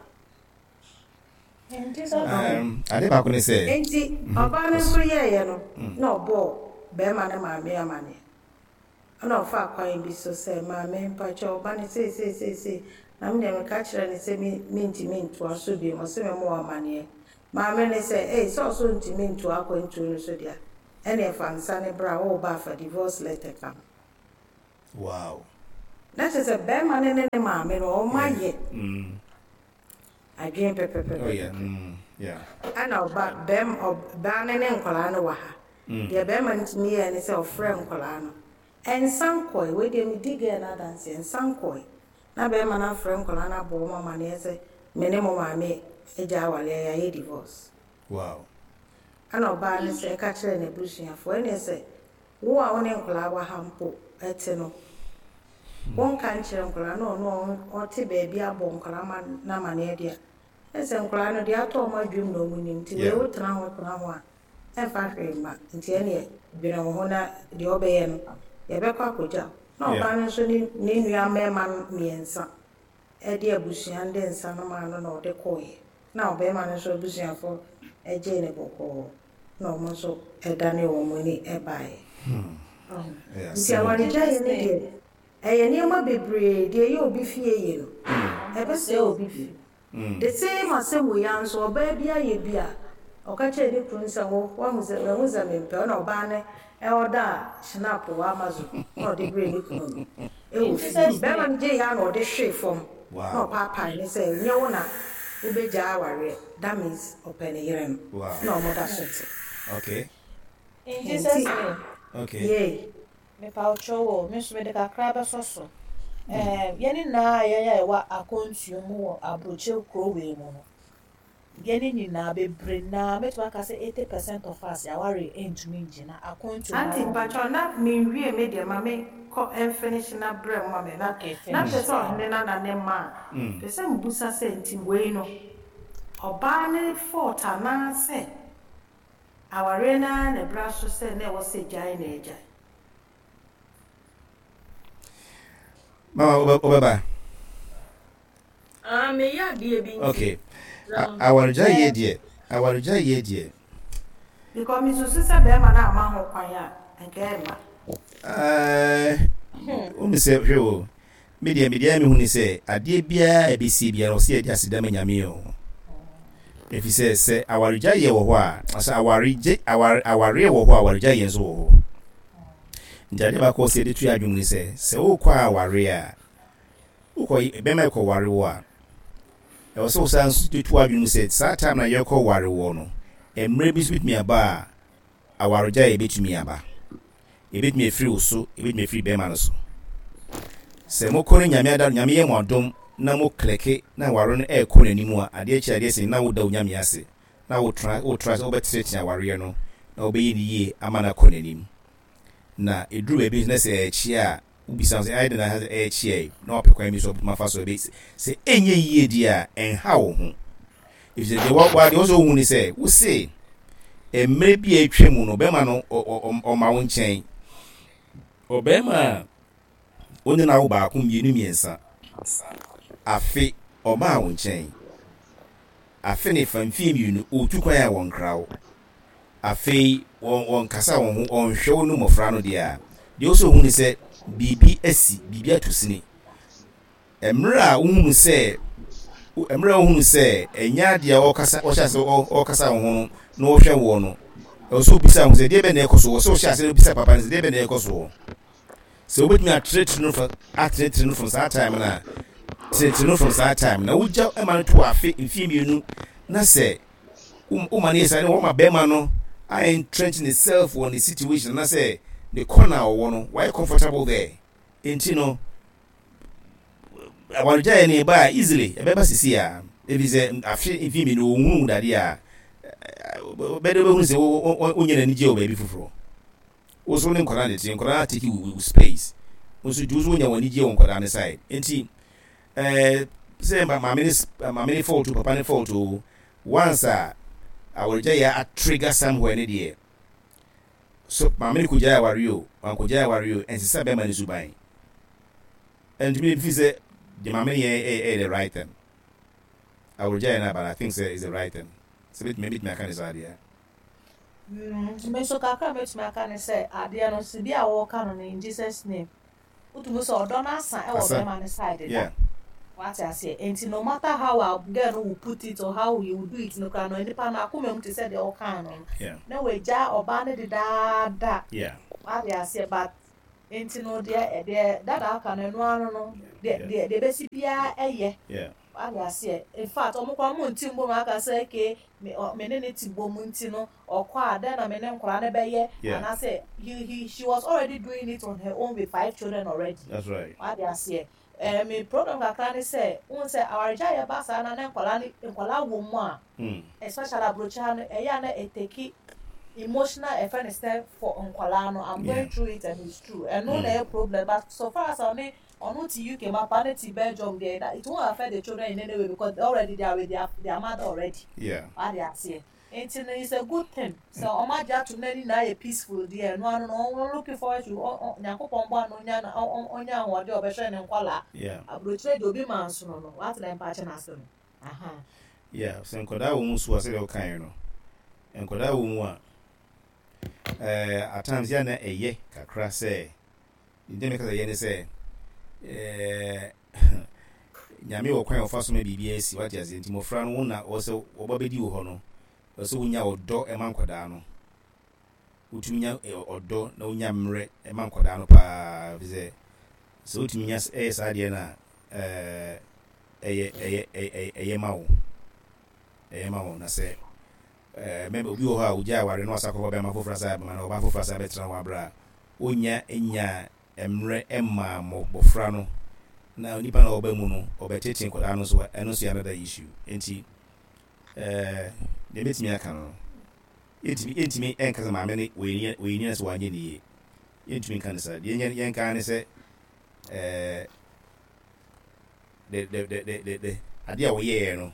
Ade baako ne sɛ. Enti ɔbaa no nso yɛeɛ no, na ɔbɔɔ barima no maame amanneɛ. Ɛna ɔfaa kwan bi so sɛ, Maame, mpakyɛw, wo ba no sei sei sei sei, na me deɛ meka kyerɛɛ no sɛ me mentumi ntoa so biom, ɔse memmɔ wo amaneɛ. Maame no sɛ, Ei, sɛ ɔse ɔntumi ntoa akwantuo no so deɛ a, ɛneɛ fa nsa no bra, woreba a fa divorce letter ka ho. Wow. Na kyerɛ sɛ bɛrima no ne ne maame no, wɔn ayɛ adwene pɛpɛpɛpɛ. Oh yeah. Yeah. Ɛna ɔba bɛrima ɔbaa no ne nkwadaa no wɔ ha. Deɛ bɛrima no tumi yɛɛ ne sɛ ɔfrɛ nkwadaa no. Ɛnsa nkɔe, wei deɛ medi girl no adanseɛ, ɛnsa nkɔe. Na bɛrima no afrɛ nkwadaa no abɔ wɔn amaneɛ sɛ me ne mo maame agya awareɛ yɛayɛ divorce. Wow. Ɛna ɔbaa no sɛ ɛka kyerɛɛ n'abusuafoɔ ɛneɛ sɛ Wo a wo ne nkwadaa wɔ ha mpo te no, wonka nkyerɛ nkwadaa na ɔno a ɔte baabi abɔ nkwadaa ma no amaneɛ deɛ a, ɛne sɛ nkwadaa no deɛ atɔ wɔn adwenem na wɔn nim. Nti wei wotena ho tena ho a, ɛmfa hwee mma. Nti ɛneɛ dwene wo ho na deɛ ɔbɛyɛ no, yɛbɛkɔ akɔgya wo. Na ɔbaa no nso ne ne nua mmarima mmiɛnsa de abusua no de nsa no maa no na ɔde kɔeɛ. Na ɔbarima no nso abusuafoɔ gyee no bɔkɔɔ. na wɔn nso danee wɔn ani baeɛ. Nti awaregyaeɛ no deɛ, ɛyɛ nneɛma bebree, deɛ ɛyɛ obi fie yie no, ɛbɛsɛe obi fie. The same asɛm wei ara nso, ɔbaa bi ayɛ bi a, ɔka kyerɛɛ ne kunu sɛ, wo, woahu sɛ, mahu sɛ mempɛ wo, na ɔbaa no ɔdaa Schnapp wɔ Amazon na ɔde brɛɛ ne kunu no wɔ fie. Barima no gyeeɛ ara na ɔde hwee fam na ɔpaapaee no sɛ, nyɛ wo na wobɛgyaa awareɛ. That means ɔpɛ ne yere no na ɔmo da so te. Okay. In Jesus name. Okay. Yay. Mepawokyɛw o, me nso mede kakra bɛsɔ so. Ɛɛm, yɛn nyinaa a yɛn a yɛwɔ akwantuo mu wɔ aburokyire kuro wei mu no, yɛn nyinaa bebree naa, mɛtumi aka sɛ 80% of us yɛaware ntumi ngyina akwantuo mu. Auntie mpakyɛw na menwie me deɛ ma me kɔ nfinish na brɛ mo ma me na Okay, na finish. pɛ sɛ ɔhene nana ne mma a pɛ sɛ mebusa sɛ nti wei no ɔbaa ne fault anaa sɛ awareɛ no ara na ɛbra so sɛ na ɛwɔ sɛ gyae na agyae. Mama wobɛba? Ah, meyɛ adeɛ bi nti. Okay. Awaregyaeɛ deɛ, awaregyaeɛ deɛ. Because mesusu sɛ bɛrima no amma ho kwan a, nka ɛmma. Ɛɛ, wohu sɛ hwɛ o, Me deɛ, me deɛ mehu ne sɛ, adeɛ biara a ɛbɛsie biara, ɔsɛ yɛde aseda ma Nyame o. Ɛfiri sɛ, sɛ awaregyaeɛ wɔ hɔ a, sɛ awaregye, aware, awareɛ wɔ hɔ a, awaregyaeɛ nso wɔ hɔ. Nti adeɛ baako ɔsɛ yɛde to yɛ adwene mu ne sɛ, sɛ wokɔ awareɛ a, wokɔ, bɛma ɛkɔ ware wo a, ɛwɔ sɛ wosan nso de to adwene mu sɛ, saa time na yɛkɔ ware wɔ no, mmerɛ bi nso bɛtumi aba a, awaregyaeɛ bɛtumi aba. Ebetumi afiri wo so, ebetumi afiri bɛrima no so. Sɛ mokɔ ne Nyame ada, Nyame yɛ mo adom na mo klɛke na aware no ɛrekɔ n'anim a, adeɛ kye adeɛ sen na woda Onyame ase na wotra wotra sɛ wobɛtenetene awareɛ no na wobɛyɛ no yie ama no akɔ n'anim. Na ɛduru baabi nso na sɛ ɛrekyea a, wobisa ho sɛ ayɛ dɛn na ɛrekyea yi na wapɛ kwan bi so ɔbɛtumi afa so ɛbɛ sɛ ɛnyɛ yie deɛ a ɛnha wo ho. Efisɛ deɛ wa wa deɛ ɔsɛ ohun ne sɛ wose mmerɛ bi a atwa mu no bɛrima no ɔma wo nkyɛn ɔbɛrima a wone no awo baako mmienu mmiɛnsa afe ɔmaa wo nkyɛn afe ne fa mfie mmienu ɔtu kwan a wɔnkra wo afei wɔn wɔnkasa wɔn ho ɔnhwɛ wo ne mmɔfra no deɛ a deɛ ɔsɛ ohun ne sɛ biribi asi biribi ato sini Mmerɛ a wohunu sɛ mmerɛ a wohunu sɛ ɛnyɛ adeɛ a ɔkasa ɔhyɛ ase ɔkasa wo ho no na ɔhwɛ woɔ no, ɛwɔ sɛ wobisa ho sɛ deɛ bɛn na ɛkɔ so wɔ sɛ ɔhyɛ ase na wobisa papa no sɛ deɛ bɛn na ɛkɔ soɔ. Sɛ wobɛtumi atenetene no fa atenetene no from saa time no a tenetene no from saa time na wogya ma no to afe mfie mmienu na sɛ woma no yɛ saa ne wɔma bɛrima no a entrench ne self wɔ ne situation na sɛ ne corner a ɔwɔ no wayɛ comfortable there nti no awaregyaeɛ no ɛba a easily ɛbɛba sisi a ɛfiri sɛ afe mfe mmienu wɔhunu wo dadeɛ a bɛde wobɛhunu sɛ wonyɛ n'anigye wɔ baabi foforɔ wo so ne nkwadaa ne te nkwadaa take wo space wo nso nti wo so wonya wɔn anigye wɔ nkwadaa ne side nti ɛɛ sɛ maame ne maame ne fault o papa ne fault o once a awaregyaeɛ a trigger somewhere ne deɛ So maame no kogyae aware o, wankogyae aware o, ɛnsesa bɛrima no suban. Ɛntumi ne fi sɛ deɛ maame no yɛ ɛyɛ the right thing. Awaregyae no aba no, I think sɛ is the right thing. Sɛ bɛtumi bɛtumi aka ne saa deɛ. Me nso kakra a mɛtumi aka ne sɛ adeɛ no sɛ bi a wɔka no no in Jesus name wotumi sɛ ɔdɔ no asa ɛwɔ bɛrima no side da. Wate aseɛ? Nti no matter how a girl no will put it or how he will do it no koraa no, nipa no akoma mu te sɛ deɛ ɔkaa no no. Na wagya ɔbaa no dedaada. Wate aseɛ? But nti no deɛ deɛ dada aka no ɛno ano no deɛ deɛ deɛ bɛsi biara ɛyɛ. Wate aseɛ? In fact, ɔmo koraa ɔmo nti mbom aka sɛ okay me ɔ me ne ne te bom nti no ɔkɔ a dɛn na me ne nkwadaa no bɛyɛ anaasɛ he he she was already doing it on her own with five children already. That's right. Wate aseɛ? Eh, me problem kakra ne sɛ, wohu sɛ awaregyaeɛ ba saa na na nkwadaa no nkwadaa wɔ mu a, especially aburokyi ha no, ɛyɛ a na ɛteki emotional ɛfɛ ne sɛ for nkwadaa no, I'm going through it and it's true. Ɛno na ɛyɛ problem, but so far as ɔne ɔno te UK, ma papa no te Belgium deɛ, it won't affect the children in any way because already they are with their mother already. Wate aseɛ? Nti no it's a good thing sɛ ɔmo agye atom na ne nyinaa yɛ peaceful deɛ ɛno ano no ɔmo looking forward to Nyankopɔn boa no onya na ɔnya ahoɔden a ɔbɛhwɛ ne nkwadaa. Aburokyire deɛ obi ma nsono no wate na mpakyɛ no ase no aha. Yeah, sɛ nkwadaa wɔ mu nso a sɛdeɛ wokaeɛ no, nkwadaa wɔ mu a, eh, at times yɛ na ɛyɛ kakra sɛ, deɛ meka sɛ ɛyɛ ne sɛ, eh, Nyame wɔ kwan a ɔfa so ma biribiara si, wate aseɛ, nti mmɔfra no wo na ɔwɔ sɛ wɔba bɛdi wo hɔ no, ɛwɔ sɛ wonya ɔdɔ ma nkwadaa no, wotumi nya ɔdɔ na wonya mmerɛ ma nkwadaa no paa, ɛfiri sɛ sɛ wotumi nya ɛyɛ saa deɛ no a, ɛyɛ ɛyɛ ɛyɛ ɛyɛ ma wo, ɛyɛ ma wo, na sɛ mɛma obi wɔ hɔ a ogya aware na wasa kɔfa bɛrima foforɔ asa abɛma na ɔbaa foforɔ asa abɛtena hɔ aberɛ a ɔnya nya mmerɛ mmaa mmɔfra no na onipa no a ɔba mu no ɔbɛtete nkwadaa no nso a, ɛno nso yɛ another issue. Nti eh, deɛ mɛtumi aka no, yɛntumi yɛntumi nka sɛ maame no wɔyɛ wɔyɛ nina sɛ wanyɛ ne yie. Yɛntumi nka no saa. Deɛ yɛn yɛnka ara ne sɛ eh, the the the the the the adeɛ a wɔyɛɛ no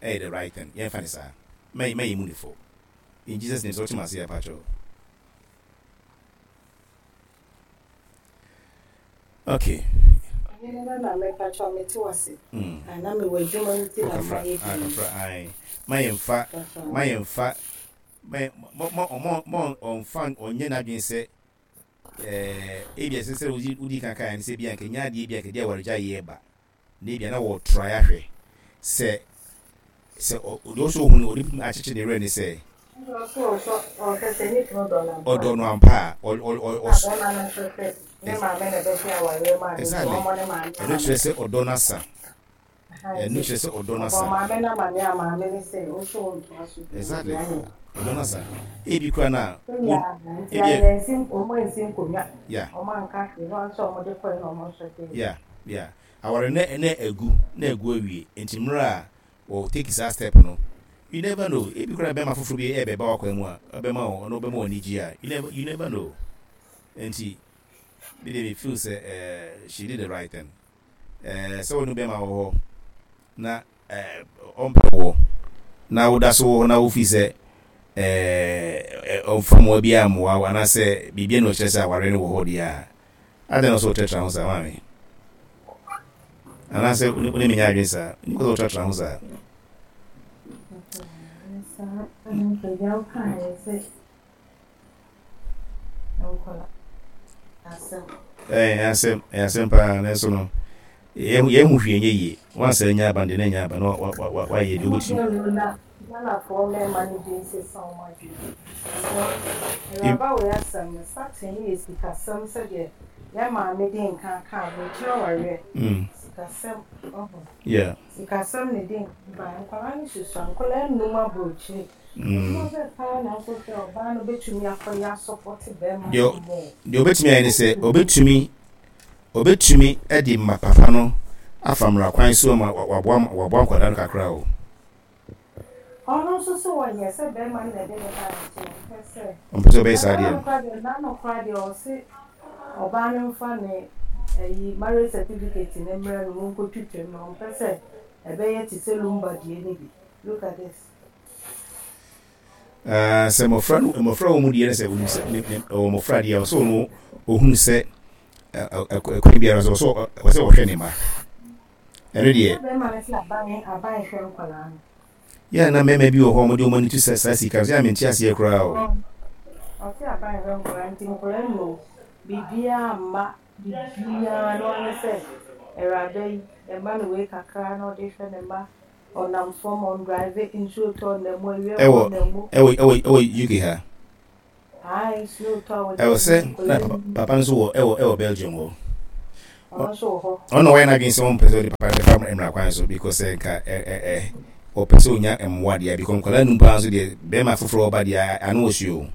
ɛyɛ the right thing. Yɛnfa ne saa. Mɛ mɛ yɛ mu ne fo. In Jesus name, sɛ wote m'ase a, pakyɛw. Okay. Ɔhene no na mepa kyɛw mete wase. Ah, na mewɔ adwuma nti na ma yɛ din. Kafra, ae. Ma yɛn fa, ma yɛn fa, ma mo mo mo mo ɔnfa ɔnyɛ n'adwene sɛ ɛɛ ebi ɛsɛ sɛ wodi wodi kan kan sɛ bi anka nya adeɛ bi anka di awaregya yɛ ba. Na ebia na wɔretrae ahwɛ sɛ sɛ deɛ ɔsɛ ɔhu no ɔde bɛtumi akyekye ne werɛ ne sɛ ɔdɔ no ampa a exactly ɛno kyerɛ sɛ ɔdɔ no asa ɛno kyerɛ sɛ ɔdɔ no asa exactly ɔdɔ no asa ebi kura na ebi yeah yeah yeah Aware no na agu na agu awie nti mmerɛ a wɔ take saa step no you never know ebi koraa na bɛrima foforɔ bi ɛbɛba w'akwan mu a ɔbɛma wo ɔno ɔbɛma w'ani gye a you never you never know nti me deɛ me feel sɛ eh, she did the right thing eh, sɛ wɔne bɛrima wɔ hɔ na eh, ɔmpɛ woɔ na woda so wɔ hɔ na wofi sɛ eh, ɔmfa mmoa biara mmoa wo anaasɛ biribi na ɔkyerɛ sɛ aware no wɔ hɔ deɛ a Adɛn na ɔsɛ wotratra ho saa, maame? Anaasɛ wo ne me nyɛ adwene saa? Nni kɔ sɛ wotratra ho saa. Ɛyɛ asɛm, ɛyɛ asɛm paa, nanso no, yɛn ho hwee nyɛ yie. Wansa anya aba no deɛ na anya aba na wayɛ deɛ wobɛtumi. Ghanafoɔ mmarima no bi nsesa wɔn adwene. Awuraba wei asɛm no starting no yɛ sikasɛm sɛdeɛ yɛn maame di nkan ka aburokyire awareɛ sikasɛm ɔho sikasɛm na edi nkan ba nkwadaa no susua nkwadaa nnum aburokyire adwuma bɛɛ paa na akɔhwɛ ɔbaa no bɛtumi akɔyɛ asɔpɔte bɛrima no mɔ. Deɛ ɔbɛtumi ayɛ ne sɛ ɔbɛtumi ɔbɛtumi de ma papa no afa mmara kwan so ama waboa waboa nkwadaa no kakra o. Ɔno nso so ɔyɛ sɛ bɛrima no na ɛde ne baeɛ nti ɔmpɛ sɛ. Ɔmpɛ sɛ ɔbɛyɛ saa deɛ no. N'ano koraa deɛ ɔse ɔbaa no mfa ne ɛyi marriage certificate no mmrɛ no monkɔtwitwa mu na ɔmpɛ sɛ ɛbɛyɛ te sɛ lumba deɛ no bi. Look at this. Uh, sɛ mmɔfra no mmɔfra wɔ mu deɛ no sɛ onim sɛ ne ne ɔwɔ mmɔfra deɛ ɔsɛ ɔno ohunu sɛ ɛkwan biara so ɔsɛ ɔsɛ ɔhwɛ ne mma. Ɛno deɛ. Sɛ bɛrima no sɛ aban aban hwɛ nkwadaa no. Yɛ a na mmarima bi wɔ hɔ a wɔde wɔn ani to saa saa sika no so, yɛ a mente aseɛ koraa o. Ɔse aban hwɛ nkwadaa nti nkwadaa nnu biribiara mma biribiara no ara ne sɛ awuraba yi ɛma no wei kakra na ɔde hwɛ ne mma ɔnam fam ɔndrive nsuo tɔ ɔnam mu awia mu Ɛwɔ ɔnam mu. ɛwɔ ɛwɔ ɛwɔ UK ha. Ae snow tɔ a wɔde Ɛwɔ sɛ ayi na nkwadaa papa nnu. papa no nso wɔ ɛwɔ ɛwɔ Belgium hɔ. Ɔno nso wɔ hɔ. Ɔno na wayɛ n'adwene sɛ ɔmpɛ sɛ ɔde papa no bɛfa mmara kwan so because sɛ nka ɛ ɛ ɛ ɔpɛ sɛ ɔnya mmoa deɛ because nkwadaa num paa nso deɛ bɛrima foforɔ ɔba deɛ ano wɔ hye o.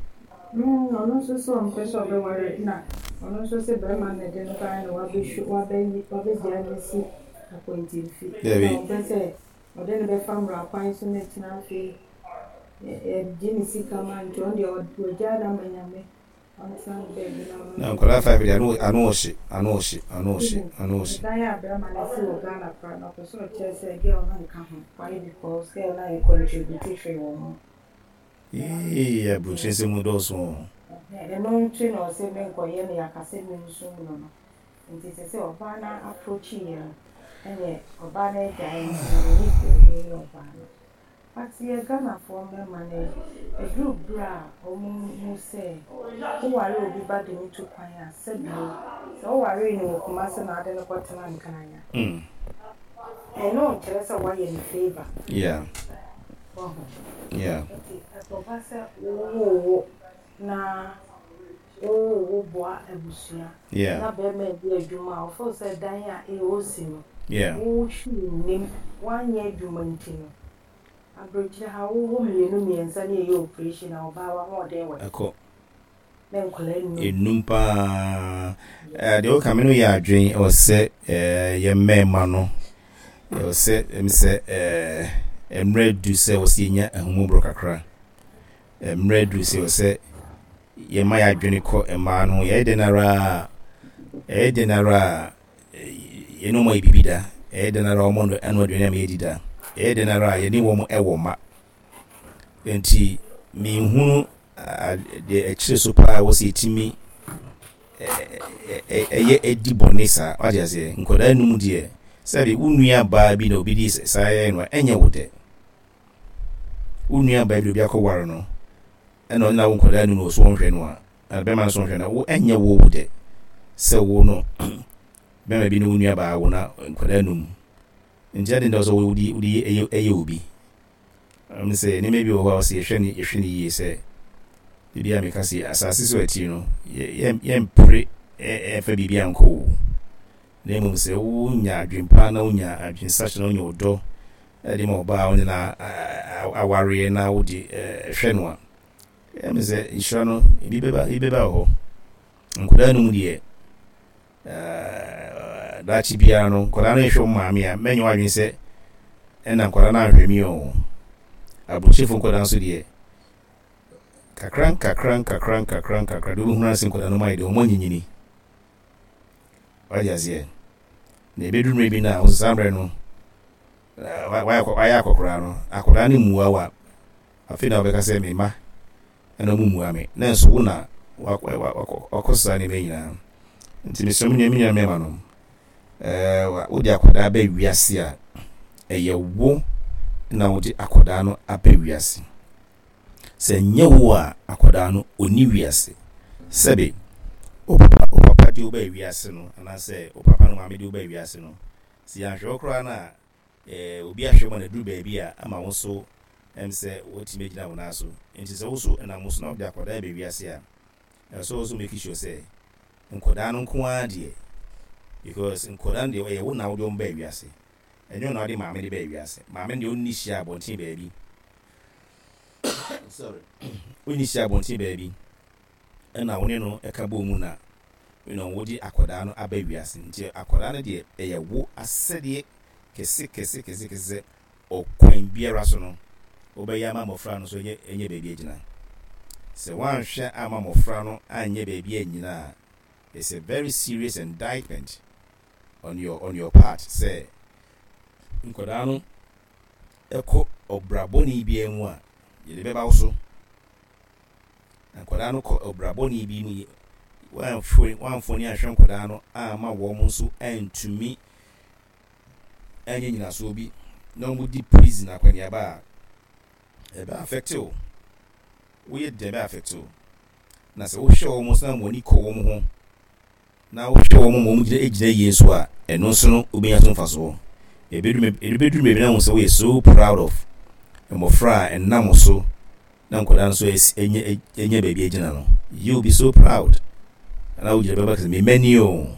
Mm, ɔno nso sɛ ɔmpɛ sɛ ɔbɛware na ɔno nso sɛ bɛrima na ɛde no baeɛ na wabɛhwɛ wabɛyi wabɛgyaa no asi akwantemfi na Dabi. ɔmpɛ sɛ ɔde no bɛfa mmara kwan so na akyina afei yɛgye ne sika ma nti ɔno deɛ wagyaa no ama Nyame. Na nkwadaa 5 deɛ ano ano ɔhye ano ɔhye ano ɔhye ano ɔhye. Ɛdan a bɛrima no si wɔ Ghana koraa no ɔpɛ sɛ ɔkyerɛ sɛ girl no nka ho why because girl no ayɛ contribute hwee wɔ ho. Eii aburokyire nsɛm mu dɔɔso o. Ɛno nti na ɔse menkɔyɛ no yɛaka sɛ mensum no no nti sɛ sɛ ɔbaa no approach yɛ no ɛneɛ ɔbaa no agyae nti no ɔnni deɛ ɔbɛyɛ ɔbaa no. But yɛ Ghanafoɔ mmarima no ɛduru berɛ a wɔn hu sɛ wo ware obi ba de no tu kwan a sɛbio sɛ wo waree no wɔ Kumasi na wode no kɔ tena Nkran a ɛno nkyerɛ sɛ woayɛ no favour. Yeah. Wahu. Yeah. Nti ɛkɔba sɛ wo wo wo na wo wo wo boa abusua Yeah. na bɛrima ɛdi adwuma a ɔfeel sɛ dan a ɛɔsi no Yeah. wo hwee nnim woanyɛ adwuma nti no aberekyire ha wo wo mmienu mmiɛnsa ne ɛyɛ operation a ɔbaa w'ahoɔden wɔ he Ɛkɔ. na nkwadaa nnum. Nnum paa. Eh, deɛ woka me no yɛ adwen ɛwɔ sɛ eh, yɛ mmarima no ɛwɔ sɛ ɛm sɛ eh, mmerɛ du sɛ wɔ sɛ yɛnya ahummɔborɔ kakra. Mmerɛ aduru sɛ ɛwɔ sɛ yɛma yɛn adwene kɔ mmaa no ho. Yɛyɛ dɛn ara a, ɛyɛ dɛn ara a, yɛne wɔn ayɛ biribi da. Ɛyɛ dɛn ara a wɔn ano aduane ama yɛadi da. Ɛyɛ dɛn ara a yɛne wɔn wɔ mma. Nti menhunu deɛ ɛkyerɛ so paa wɔ sɛ yɛtumi ɛyɛ ɛdi bɔne saa. Wate aseɛ? Nkwadaa num deɛ sɛbe wo nua baa bi na obi di saa yɛ no a ɛnyɛ wo dɛ. Wo nua baa bi obi akɔware no ɛna ɔne n'awo nkwadaa nu no so wɔnhwɛ no a, na bɛrima no so nhwɛ no a, wo ɛnyɛ wo wo dɛ sɛ wo no bɛrima bi ne wo nua baa wo na nkwadaa num. Nti adi nti sɛ wodi wodi ɛyɛ ɛyɛ obi. Ɛm sɛ nneɛma bi wɔ hɔ a ɔsɛ yɛhwɛ ne yɛhwɛ ne yie sɛ ebi a meka sɛ asase so akyiri no yɛ yɛmpere ɛmfa biribi ankɔ wo. Na mmom sɛ wonya adwempa na wonya adwensakyera na wonya ɔdɔ de ma ɔbaa a wo ne no awareɛ na wode hwɛ no a, ɛyɛ me sɛ nhyira no ebi bɛba ebi bɛba wɔ hɔ. Nkwadaa no mu deɛ daakye biara no nkwadaa no nhwɛ wɔn maame a mɛnyɛ w'adwene sɛ ɛna nkwadaa no anhwɛ mi o. Aburokyefo nkwadaa nso deɛ kakra nkakra nkakra nkakra nkakra deɛ wobɛhunu ase nkwadaa no mu ayɛ deɛ wɔn anyinyini. Wagye aseɛ. Na ɛbɛduru mmerɛ bi no a, wo saa mmerɛ no, wayɛ akɔkoraa no, akɔdaa no mmua wo a, afei na wobɛka sɛ me mma ɛna ɔmo mmua me. Na nso wo na wakɔ saa nneɛma nyinaa. Nti mesrɛ me nua me nua mmarima nom, ɛɛ wode akwadaa ba wiase a, ɛyɛ wo na wode akwadaa no aba wiase. Sɛ ɛnyɛ wo a, akwadaa no, ɔnni wiase. Sɛbe, wo papa, wo papa de wo baa wiase no, anaasɛ wo papa ne wo maame de wo baa wiase no, sɛ yɛanhwɛ wo koraa no a, eh, obi ahwɛ wo ma no aduru baabi a, ama wo nso, ɛm sɛ woatumi agyina wo nan so. Enti sɛ wo nso ɛnam wo so na wode akwadaa ba wiase a, ɛwɔ sɛ wo nso make sure sɛ, nkwadaa no nko ara deɛ, because nkwadaa no deɛ, ɛyɛ wo na wode wɔn baa wiase. Ɛnyɛ wo na wode maame de baa wiase. Maame no deɛ, ɔnni hyia abɔnten baabi. Sorry. Wonni hyia abɔnten baabi ɛna wo ne no ɛka bɔɔ mu na you know wode akwadaa no aba wiase. Nti akwadaa no deɛ ɛyɛ wo asɛdeɛ kɛse kɛse kɛse kɛse sɛ ɔkwan biara so no wobɛyɛ ama mmɔfra no so ɛnyɛ ɛnyɛ baabi agyina. Sɛ woanhwɛ ama mmɔfra no anyɛ baabi annyina a, it's a very serious indictment on your on your part sɛ nkwadaa no kɔ ɔbra bɔne biara mu a, yɛde bɛba wo so. Na nkwadaa no kɔ ɔbra bɔne bi mu, woamfoni anhwɛ nkwadaa no amma wɔn nso antumi anyɛ nyinasoɔ bi na wɔdi prison akɔneaba a, Ɛbɛ affect wo. Woyɛ dɛn ɛbɛ affect wo. Na sɛ wohwɛ wɔn nso na wɔn ani kɔ wɔn ho na wohwɛ wɔn ma wɔn gyina gyina yie nso a, ɛno nso no wobɛnya so mfasoɔ. Ɛbɛduru ɛbɛduru baabi na wohu sɛ woyɛ so proud of mmɔfra a ɛnam wo so na nkwadaa nso anya anya baabi agyina no. You will be so proud. Na wogyina bɛba sɛ me mma ni o.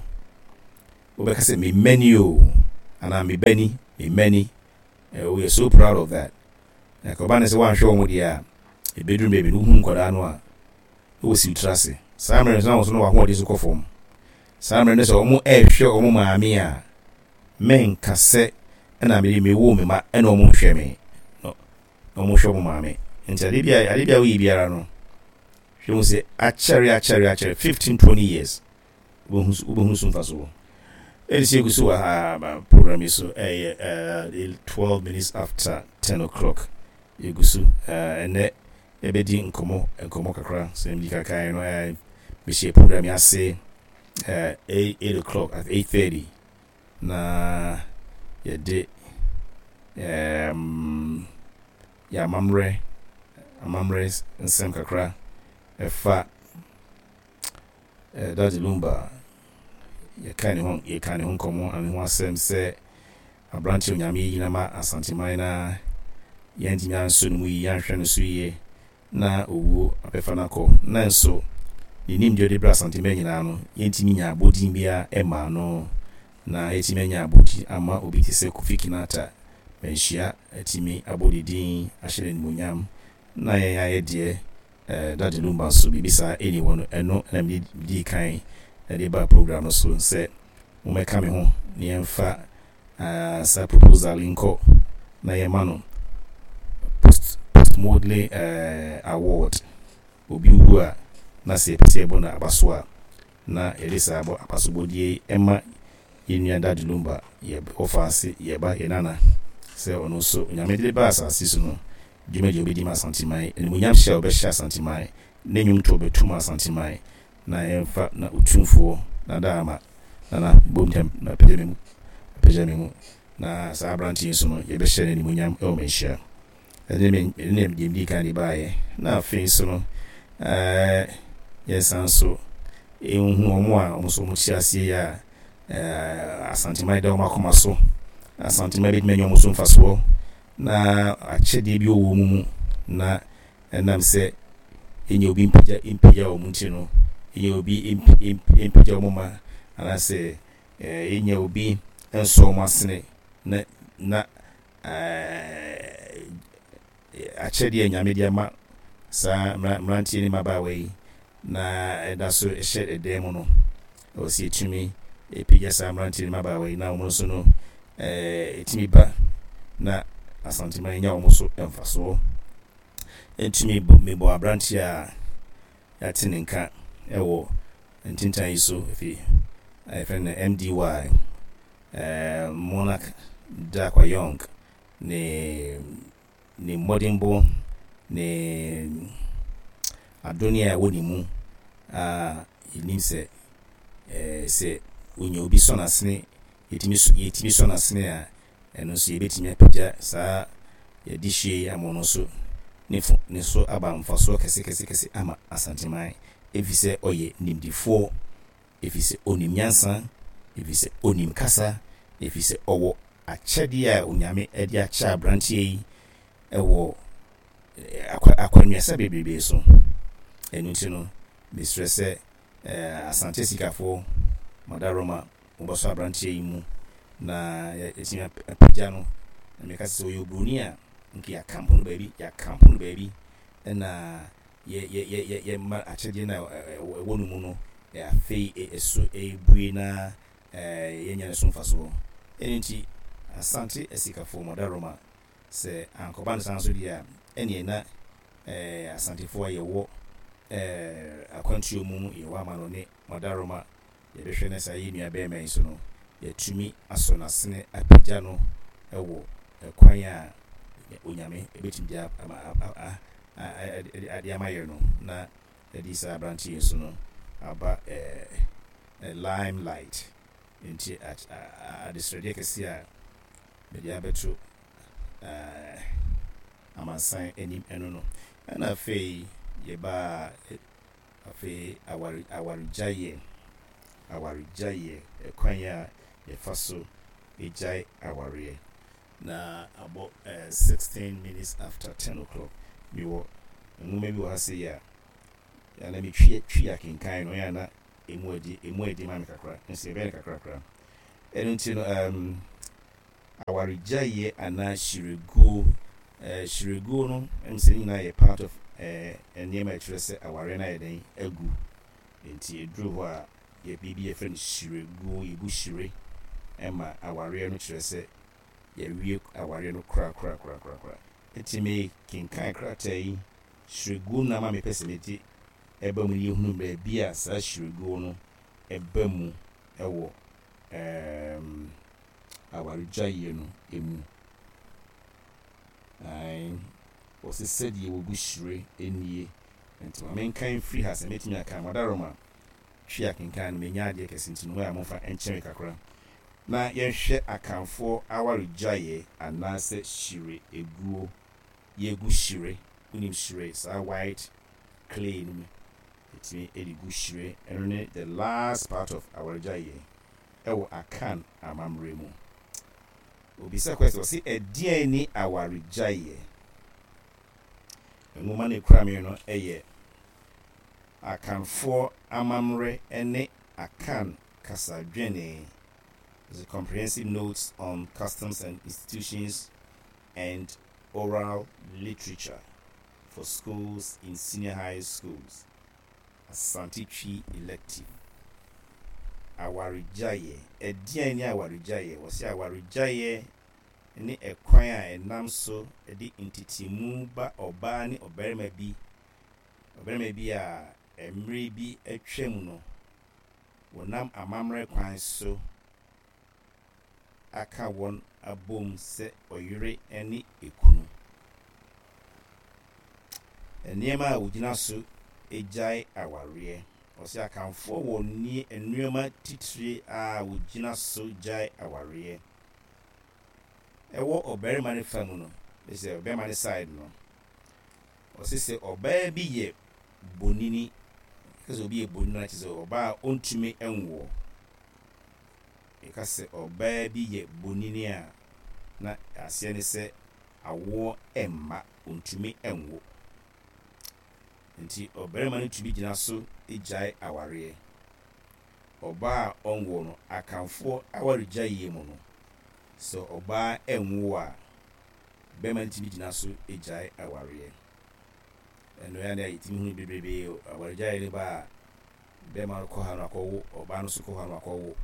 Wobɛka sɛ me mma ni o anaa me ba ni, me mma ni. Woyɛ so proud of that. Na ka ɔba ne sɛ woanhwɛ wɔn deɛ a, ɛbɛduru baabi no wohu nkwadaa no a, na wɔsi wo tiri ase. Saa mmerɛ no nso na wɔn nso na wɔn ahoɔden nso kɔ fam. Saa mmerɛ no sɛ wɔn ɛrehwɛ wɔn maame a, menka sɛ ɛna mede mewoo me ma ɛna wɔn nhwɛ me. No, na wɔn hwɛ wɔn maame. Nti adeɛ bi a adeɛ bi a woyɛ biara no, hwɛ hu sɛ akyɛre akyɛre akyɛre 15 20 years wobɛhu so mfasoɔ. Ɛde sɛ yɛgu so wɔ ha program yi so ɛyɛ 12 minutes after 10 o'clock yɛgu so ɛnɛ yɛbɛdi nkɔmmɔ nkɔmmɔ kakra sɛ medi kakae no mehyɛ program yi ase 8 o'clock at 8:30 na yɛde um, yɛ amammerɛ amammerɛ nsɛm kakra ɛfa Daddy Lumba, yɛka ne ho yɛka ne ho nkɔmmɔ ne ho asɛm sɛ aberante Onyame ayi no ama Asanteman na yɛantumi anso ne mu yie, yɛanhwɛ no so yie na owuo abɛfa no akɔ. Nanso ne nimdeɛ ɔde brɛ Asanteman nyinaa no, yɛntumi nya abɔdin biara mmaa no na yɛatumi anya abɔdin ama obi te sɛ Kofi Kinata Manhyia atumi abɔ ne din ahyɛ no animuonyam na yɛn ayɛ deɛ Eh, Daddy Lumba nso biribi saa ɛni hɔ no, ɛno na mede dii kan de baa program no so sɛ mommɛka me ho na yɛmfa uh, saa proposal yi nkɔ na yɛma no post postmodern uh, award. Obi wu a na sɛ yɛpɛ sɛ yɛbɔ no aba so a na yɛde saa abɔ abasobɔdeɛ yi ma yɛn nua Daddy Lumba, yɛ wɔfa ase, yɛ ba, yɛ nana, sɛ ɔno nso Onyame de no baa asase so no, dwumadi a ɔbɛdi ma Asanteman, animuonyam hyɛ a ɔbɛhyɛ Asanteman, ne nnwomtoɔ bɛto ma Asanteman, na yɛmfa na Otumfoɔ Nadaama Nana bom ntɛm na pagya me mu, pagya me mu, na saa aberanteɛ yi nso no yɛbɛhyɛ no animuonyam wɔ manhyia. Ɛne me ɛne deɛ medii kan de baeɛ. Na afei nso no, ɛɛ yɛsan nso nhu wɔn a wɔn nso wɔte aseɛ yi a ɛɛ Asanteman da wɔn akoma so. Asanteman bɛtumi anya wɔn so mfasoɔ na akyɛdeɛ bi wɔ wɔn mu na ɛnam sɛ ɛnyɛ obi mpagya mpagya wɔn nti no, ɛnyɛ obi mpagya wɔn ma anaasɛ ɛnyɛ obi nsɔ wɔn asene na na akyɛdeɛ a Nyame de ama saa mmeranteɛ ne mmabaawa yi na ɛda so hyɛ ɛdan mu no, ɛwɔ sɛ yɛtumi pagya saa mmeranteɛ ne mmabaawa yi na wɔn nso no ɛtumi ba na Asanteman nya wɔn so mfasoɔ. Ɛtumi mebɔ aberanteɛ a yɛate ne nka ɛwɔ ntintan yi so efi yɛfrɛ no MDY Monarch Darkwa Young ne ne mmɔdenbɔ ne adonne a ɛwɔ ne mu a yɛnim sɛ sɛ onya obi sɔ n'asene yɛtumi yɛtumi sɔ n'asene a ɛno nso yɛbɛtumi apagya saa yɛde hyie yi ama ɔno nso ne fo ne so aba mfasoɔ kɛse kɛse kɛse ama Asanteman ɛfiri sɛ ɔyɛ nimdifoɔ ɛfiri sɛ ɔnim nyansa, ɛfiri sɛ ɔnim kasa, ɛfiri sɛ ɔwɔ akyɛdeɛ a Onyame de akyɛ aberanteɛ yi wɔ akwannuasa bebrebe so. Ɛno nti no, mesrɛ sɛ Asante Asikafoɔ, Madaroma, mobɛsɔ aberanteɛ yi mu na yɛatumi apagya no. Na meka sɛ sɛ ɔyɛ oburoni a, nka yɛakampo no baabi, yɛakampo no baabi na yɛ yɛ yɛ yɛ yɛma akyɛdeɛ no a ɛwɔ no mu no afei ɛso ɛrebue na yɛnya ne so mfasoɔ. Ɛno nti Asante Asikafoɔ Madaroma, sɛ ankɔba no saa nso deɛ a, ɛneɛ na Asantefoɔ a yɛwɔ akwantuo mu, yɛwɔ amanɔne, Madaroma, yɛbɛhwɛ na saa yɛn nua barima yi nso no, yɛatumi asɔ n'asene apagya no wɔ kwan a Onyame bɛtumi de ama de ama yɛn no, na yɛde saa aberanteɛ yi nso no aba lime light. Nti adesrɛdeɛ kɛseɛ a mede abɛto. amansan anim ɛno no. Ɛna afei yɛbaa afei aware awaregyaeɛ, awaregyaeɛ, ɛkwan a yɛfa so gyae awareɛ. Na abɔ 16 minutes after 10 o'clock. Mewɔ nwoma bi wɔ ha sei a, na metwi twi akenkan no, ɛyɛ a na ɛmu adi ɛmu adi ma me kakra, nso yɛbɛyɛ no kakrakra. Ɛno nti no, um, awaregyaeɛ anaa hyireguo, eh, hyireguo no, ɛm sɛ ne nyinaa yɛ part of eh, nneɛma a ɛkyerɛ sɛ awareɛ no ayɛ dɛn agu. Nti ɛduru hɔ a, yɛ biribi yɛfrɛ no hyireguo, yɛgu hyire ma awareɛ no kyerɛ sɛ yɛawie awareɛ no korakorakorakorakora. Nti mekenkan krataa yi, hyireguo no na ama mepɛ sɛ mede ɛba mu na yɛhunu baabi a saa hyireguo no ba mu wɔ ɛɛm awaregyaeɛ no mu. Ae, wɔse sɛdeɛ wɔgu hyire nie. Nti ma menkan mfiri ha sɛ mɛtumi akan. Madaroma, twi akenkan no, menya adeɛ kɛse nti no hɔ a momfa nkyɛ me kakra. Na yɛnhwɛ Akanfoɔ awaregyaeɛ anaasɛ hyire guo. Yɛgu hyire, wonim hyire, saa white clay no mu, yɛtumi de gu hyire. Ɛno ne the last part of awaregyaeɛ wɔ Akan amammerɛ mu. Obisa question, ɔse ɛdeɛn ne awaregyaeɛ? Nwoma no ɛkura me no yɛ Akanfoɔ amammerɛ ne Akan kasadwene, The Comprehensive Notes on Customs and Institutions and Oral Literature for Schools in Senior High Schools, Asante Twi Elective. Awaregyaeɛ. Ɛdeɛn ne awaregyaeɛ? Wɔse awaregyaeɛ ne ɛkwan a ɛnam so de ntetemu ba ɔbaa ne ɔbarima bi, ɔbarima bi a mmere bi atwam no wɔnam amammerɛ kwan so aka wɔn abom sɛ ɔyere ne ekunu. Nneɛma a wɔgyina so gyae awareɛ. Ɔse Akanfoɔ wɔ nneɛma titire a wɔgyina so gyae awareɛ. Ɛwɔ ɔbarima no fa mu no, ne sɛ ɔbarima no side no, ɔse sɛ ɔbaa bi yɛ bonini, yɛka sɛ obi yɛ bonini a kyerɛ sɛ ɔbaa a ɔntumi nwoɔ. Yɛka sɛ ɔbaa bi yɛ bonini a, na aseɛ ne sɛ awoɔ mma, ɔntumi nwo. Nti ɔbarima no tumi gyina so gyae awareɛ. Ɔbaa a ɔnwoɔ no, Akanfoɔ awaregyaeɛ mu no, sɛ ɔbaa nwo a, barima no tumi gyina so gyae awareɛ. Ɛno yɛ adeɛ a yɛtumi hunu bebrebe, awaregyaeɛ no ba a, bɛrima no kɔ ha no akɔwo, ɔbaa no nso kɔ ha no akɔwo.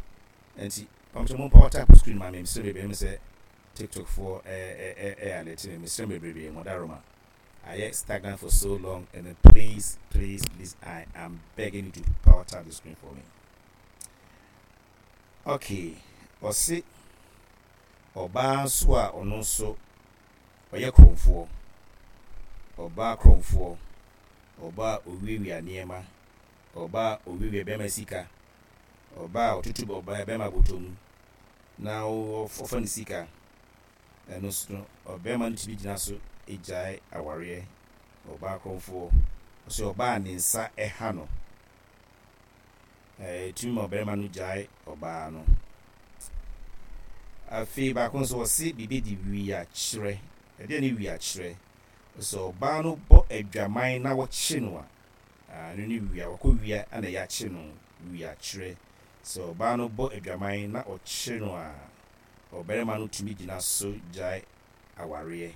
Nti, pamokyɛ mo power tap screen ma me, mesrɛ bebree, ɛmu sɛ TikTok foɔ ɛɛ alert me, mesrɛ bebrebe, mo daroma. Ayɛ stagnant for so long and then please, please, please, I am begging you to power tap the screen for me. Okay, ɔse ɔbaa nso a ɔno nso ɔyɛ korɔmfoɔ, ɔbaa korɔmfoɔ, ɔbaa a ɔwiawia nneɛma, ɔbaa a ɔwiawia bɛrima sika, ɔbaa a ɔtutu ɔbaa bɛrima bɔtɔ mu na ɔfa ne sika, ɛno nso no, ɔbarima no tumi gyina so gyae awareɛ, ɔbaa korɔmfoɔ, ɔsɛ ɔbaa a ne nsa ha no, ɛtumi ma ɔbarima no gyae ɔbaa no. Afei baako nso wɔse biribi de wiakyerɛ. Ɛdeɛ ne wiakyerɛ? Sɛ ɔbaa no bɔ adwaman na wɔkye no a, ɛno ne wia, wakɔ wia na yɛakye no, wiakyerɛ. Sɛ ɔbaa no bɔ adwaman na ɔkye no a, ɔbarima no tumi gyina so gyae awareɛ.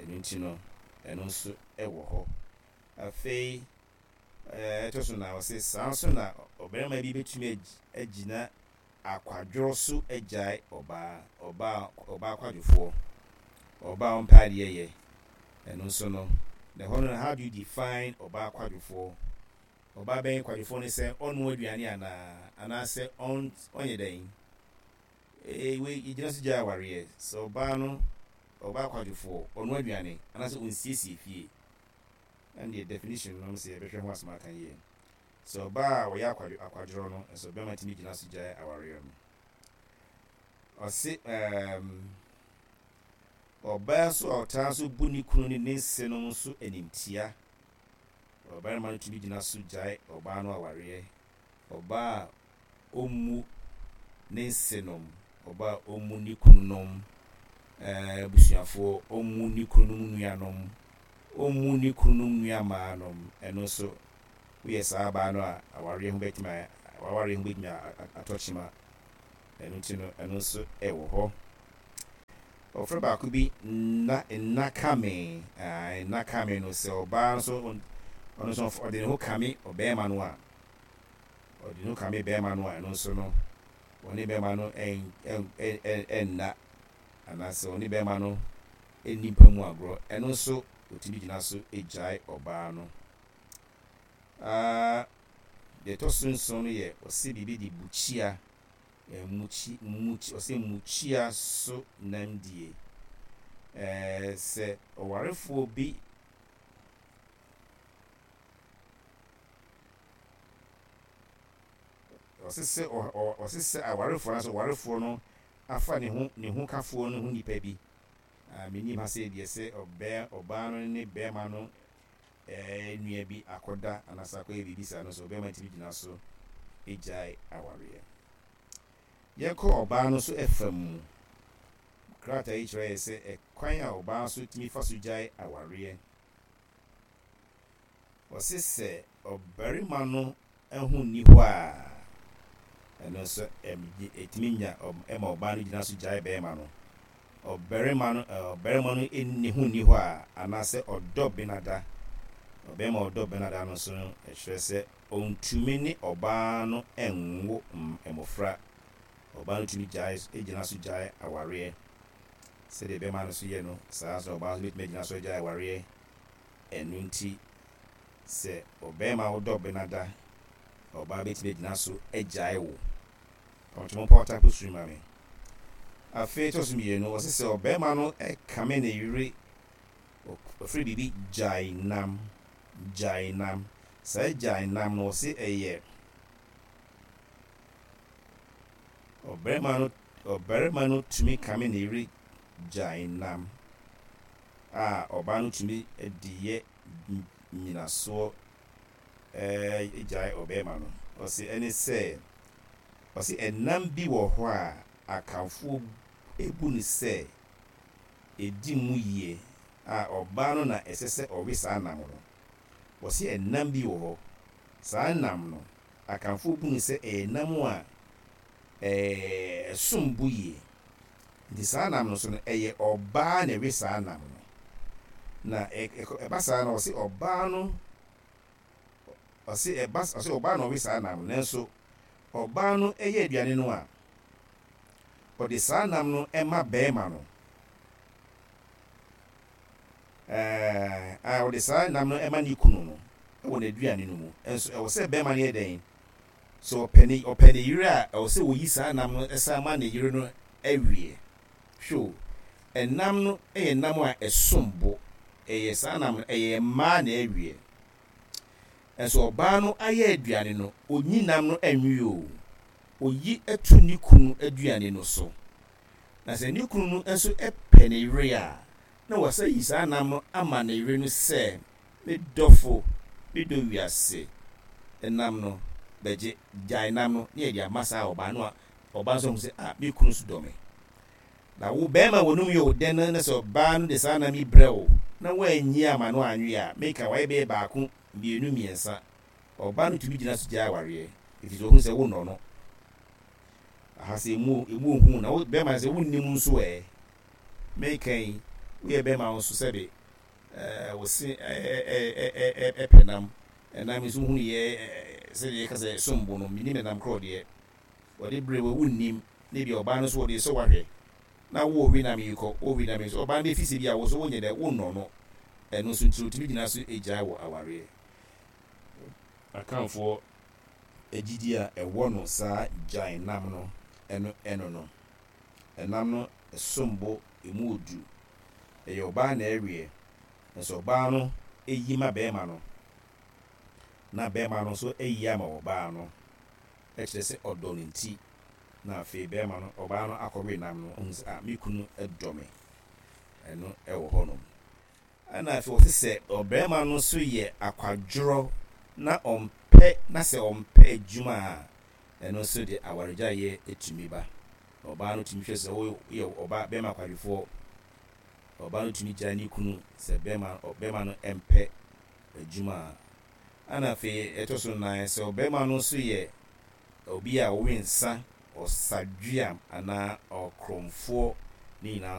Ɛno nti no, ɛno nso wɔ hɔ. Afei ɛtɔ so nan, ɔse saa nso na ɔbarima bi bɛtumi agyina akwadworɔ so agyae ɔbaa, ɔbaa, ɔbaa kwadwofoɔ, ɔbaa a ɔmpɛ adeɛ yɛ. Ɛno nso no, na ɛhɔ no, how do you define ɔbaa kwadwofoɔ? Ɔbaa bɛn kwadwofoɔ ne sɛ ɔnnoa aduane anaa, anaasɛ ɔnyɛ dɛn? Ee, wei yɛgyina so gyae awareɛ. Sɛ ɔbaa no, ɔbaa kwadwofoɔ, ɔnoa aduane, anaasɛ ɔnsiesie fie. Ɛndeɛ definition no sɛ yɛbɛhwɛ ho asɛm aka yie. Sɛ ɔbaa a ɔyɛ akwadwo akwadworɔ no nso bɛrima tumi gyina so gyae awareɛ no. Ɔse ɛɛm. Ɔbaa nso a ɔtaa nso bu ne kunu ne ne nsenom nso animtia, ɔbarima no tumi gyina so gyae ɔbaa no awareɛ. Ɔbaa a ɔmmu ne nsenom, ɔbaa a ɔmmu ne kununom abusuafoɔ, ɔmmu ne kununom nuanom, ɔmmu ne kununom nuammaanom, ɛno nso woyɛ saa baa no a, awareɛ ho bɛtumi w'awareɛ ho bɛtumi atɔ kyema. Ɛno nti no, ɛno nso ɛwɔ hɔ. Wɔfrɛ baako bi nna nna kame. Ae, nna kame no, sɛ ɔbaa nso ɔno nso ɔde ne ho kame ɔbarima no a, ɔde ne ho kame barima no a, ɛno nso no, ɔne barima no ɛnna anaasɛ ɔne barima no nni mpa mu agorɔ, ɛno nso ɔtumi gyina so gyae ɔbaa no. Ah, deɛ ɛtɔ so nson no yɛ ɔse biribi de bukyia, mukyi, mukyi, ɔse mukyia so nam die. Ɛɛ, sɛ ɔwarefoɔ bi ɔse sɛ ɔse sɛ awarefoɔ anaasɛ ɔwarefoɔ no afa ne ho ne ho kafoɔ no ho nipa bi. Ah, menim ha sɛ deɛ sɛ ɔbɛ ɔbaa no ne bɛrima no nua bi akɔda anaasɛ akɔyɛ biribi saa no nso, ɔbarima tumi gyina so gyae awareɛ. Yɛnkɔ ɔbaa no nso fa mu. Krataa yi kyerɛ yɛ sɛ ɛkwan a ɔbaa nso tumi fa so gyae awareɛ. Ɔse sɛ ɔbarima no ho nni hɔ a, ɛno nso ɛtumi nya ɛma ɔbaa no gyina so gyae barima no. Ɔbarima no ɔbarima no nni ho nni hɔ a, anaasɛ ɔdɔ benada, ɔbarima a ɔdɔ benada no nso no, ɛkyerɛ sɛ ɔntumi ne ɔbaa no nwo mmɔfra. Ɔbaa no tumi gyae gyina so gyae awareɛ. Sɛdeɛ barima no nso yɛ no, saa ara nso na ɔbaa nso bɛtumi agyina so agyae awareɛ. Ɛno nti, sɛ ɔbarima a wodɔ benada, ɔbaa bɛtumi agyina so agyae wo. Ɔtwe mo mpɔw tapo suri ma me. Afei ɛtɔ so mmienu, ɔse sɛ ɔbarima no kame ne yere, ɔfrɛ biribi gyae nam, gyae nam. Saa gyae nam no, ɔse ɛyɛ ɔbarima no, ɔbarima no tumi kame ne yere gyae nam a ɔbaa no tumi de yɛ nnyinasoɔ gyae ɔbarima no. Ɔse ɛne sɛ, ɔse ɛnam bi wɔ hɔ a Akanfoɔ bu no sɛ ɛdi mu yie a ɔbaa no na ɛsɛ sɛ ɔwe saa nam no. Ɔse ɛnam bi wɔ hɔ, saa nam no Akanfoɔ bu no sɛ ɛyɛ nam a ɛsom bo yie. Nti saa nam no nso no ɛyɛ ɔbaa na ɛwe saa nam no. Na ɛba saa no ɔse ɔbaa no ɔse ɛba ɔse ɔbaa na ɔwe saa nam no nanso ɔbaa no yɛ aduane no a ɔde saa nam no ma bɛrima no. Ɛɛ a ɔde saa nam no ma ne kunu no wɔ n'aduane no mu. Nso ɛwɔ sɛ bɛrima no yɛ dɛn? Sɛ ɔpɛ ne ɔpɛ ne yere a, ɛwɔ sɛ oyi saa nam no san ma ne yere no awie. Hwɛ o, ɛnam no yɛ nam a ɛsom bo. Ɛyɛ saa nam no, ɛyɛ mmaa na ɛweɛ. Nso ɔbaa no ayɛ aduane no, ɔnyi nam no nwe o. Ɔyi to ne kunu aduane no so. Na sɛ ne kunu no nso pɛ ne yere a, na wasan ayi saa nam no ama ne yere no sɛ, Me dɔfo, me dɔ wiase nam no, bɛgye, gyae nam no na yɛde ama saa ɔbaa no a, ɔbaa nso ahu sɛ, ah, me kunu nso dɔ me. Na wo barima w'anom yɛ wo dɛ no na sɛ ɔbaa no de saa nam yi brɛ wo na woanyi amma no anwe a, meka wayɛ bɛyɛ baako, mmienu, mmiɛnsa. Ɔbaa no tumi gyina so gyae awareɛ, ɛfiri sɛ ɔhunu sɛ wonnɔ no. Aha sɛ emu, emu ohu na wo bɛrima sɛ wonnim nso ɛ. Meka yi, woyɛ bɛrima wo nso sɛbe ɛɛ wo se ɛɛ ɛɛ ɛpɛ nam. Ɛnam nso hunu yɛ sɛdeɛ yɛka sɛ ɛsom bo no, mennim ɛnam korɔ deɛ. Wɔde brɛ wo a wonnim, na ebia ɔbaa no nso wɔde resɔ wo ahwɛ, na wo we nam yi kɔ, wo we nam yi nso, ɔbaa no bɛfi sɛ bi a wo nso wonyɛ dɛ, wonnɔ no. Ɛno nso nti otumi gyina so gyae wɔ awareɛ. Akanfoɔ gyidie a ɛwɔ no saa gyae nam no, ɛno ɛno no. Ɛnam no ɛsom bo, ɛmu ɔdu. Ɛyɛ ɔbaa na ɛweɛ, nso ɔbaa no yi ma bɛɛma no, na bɛɛma no nso ayi ama ɔbaa no. Kyerɛ sɛ ɔdɔ no nti na afei bɛrima no, ɔbaa no akɔwe nam no, ɔhu sɛ ah me kunu dɔ me. Ɛno wɔ hɔnom. Ɛna afei wɔse sɛ ɔbarima no nso yɛ akwadworɔ na ɔmpɛ na sɛ ɔmpɛ adwuma a, ɛno nso de awaregyaeɛ tumi ba. Na ɔbaa no tumi hwɛ sɛ woyɛ ɔba bɛrima kwadwofoɔ. Ɔbaa no tumi gyae ne kunu sɛ bɛrima ɔbɛrima no mpɛ adwuma a. Ɛna afei ɛtɔ so nnan sɛ ɔbarima no nso yɛ obi a ɔwe nsa, ɔsadweam anaa ɔkorɔmfoɔ ne nyinaa.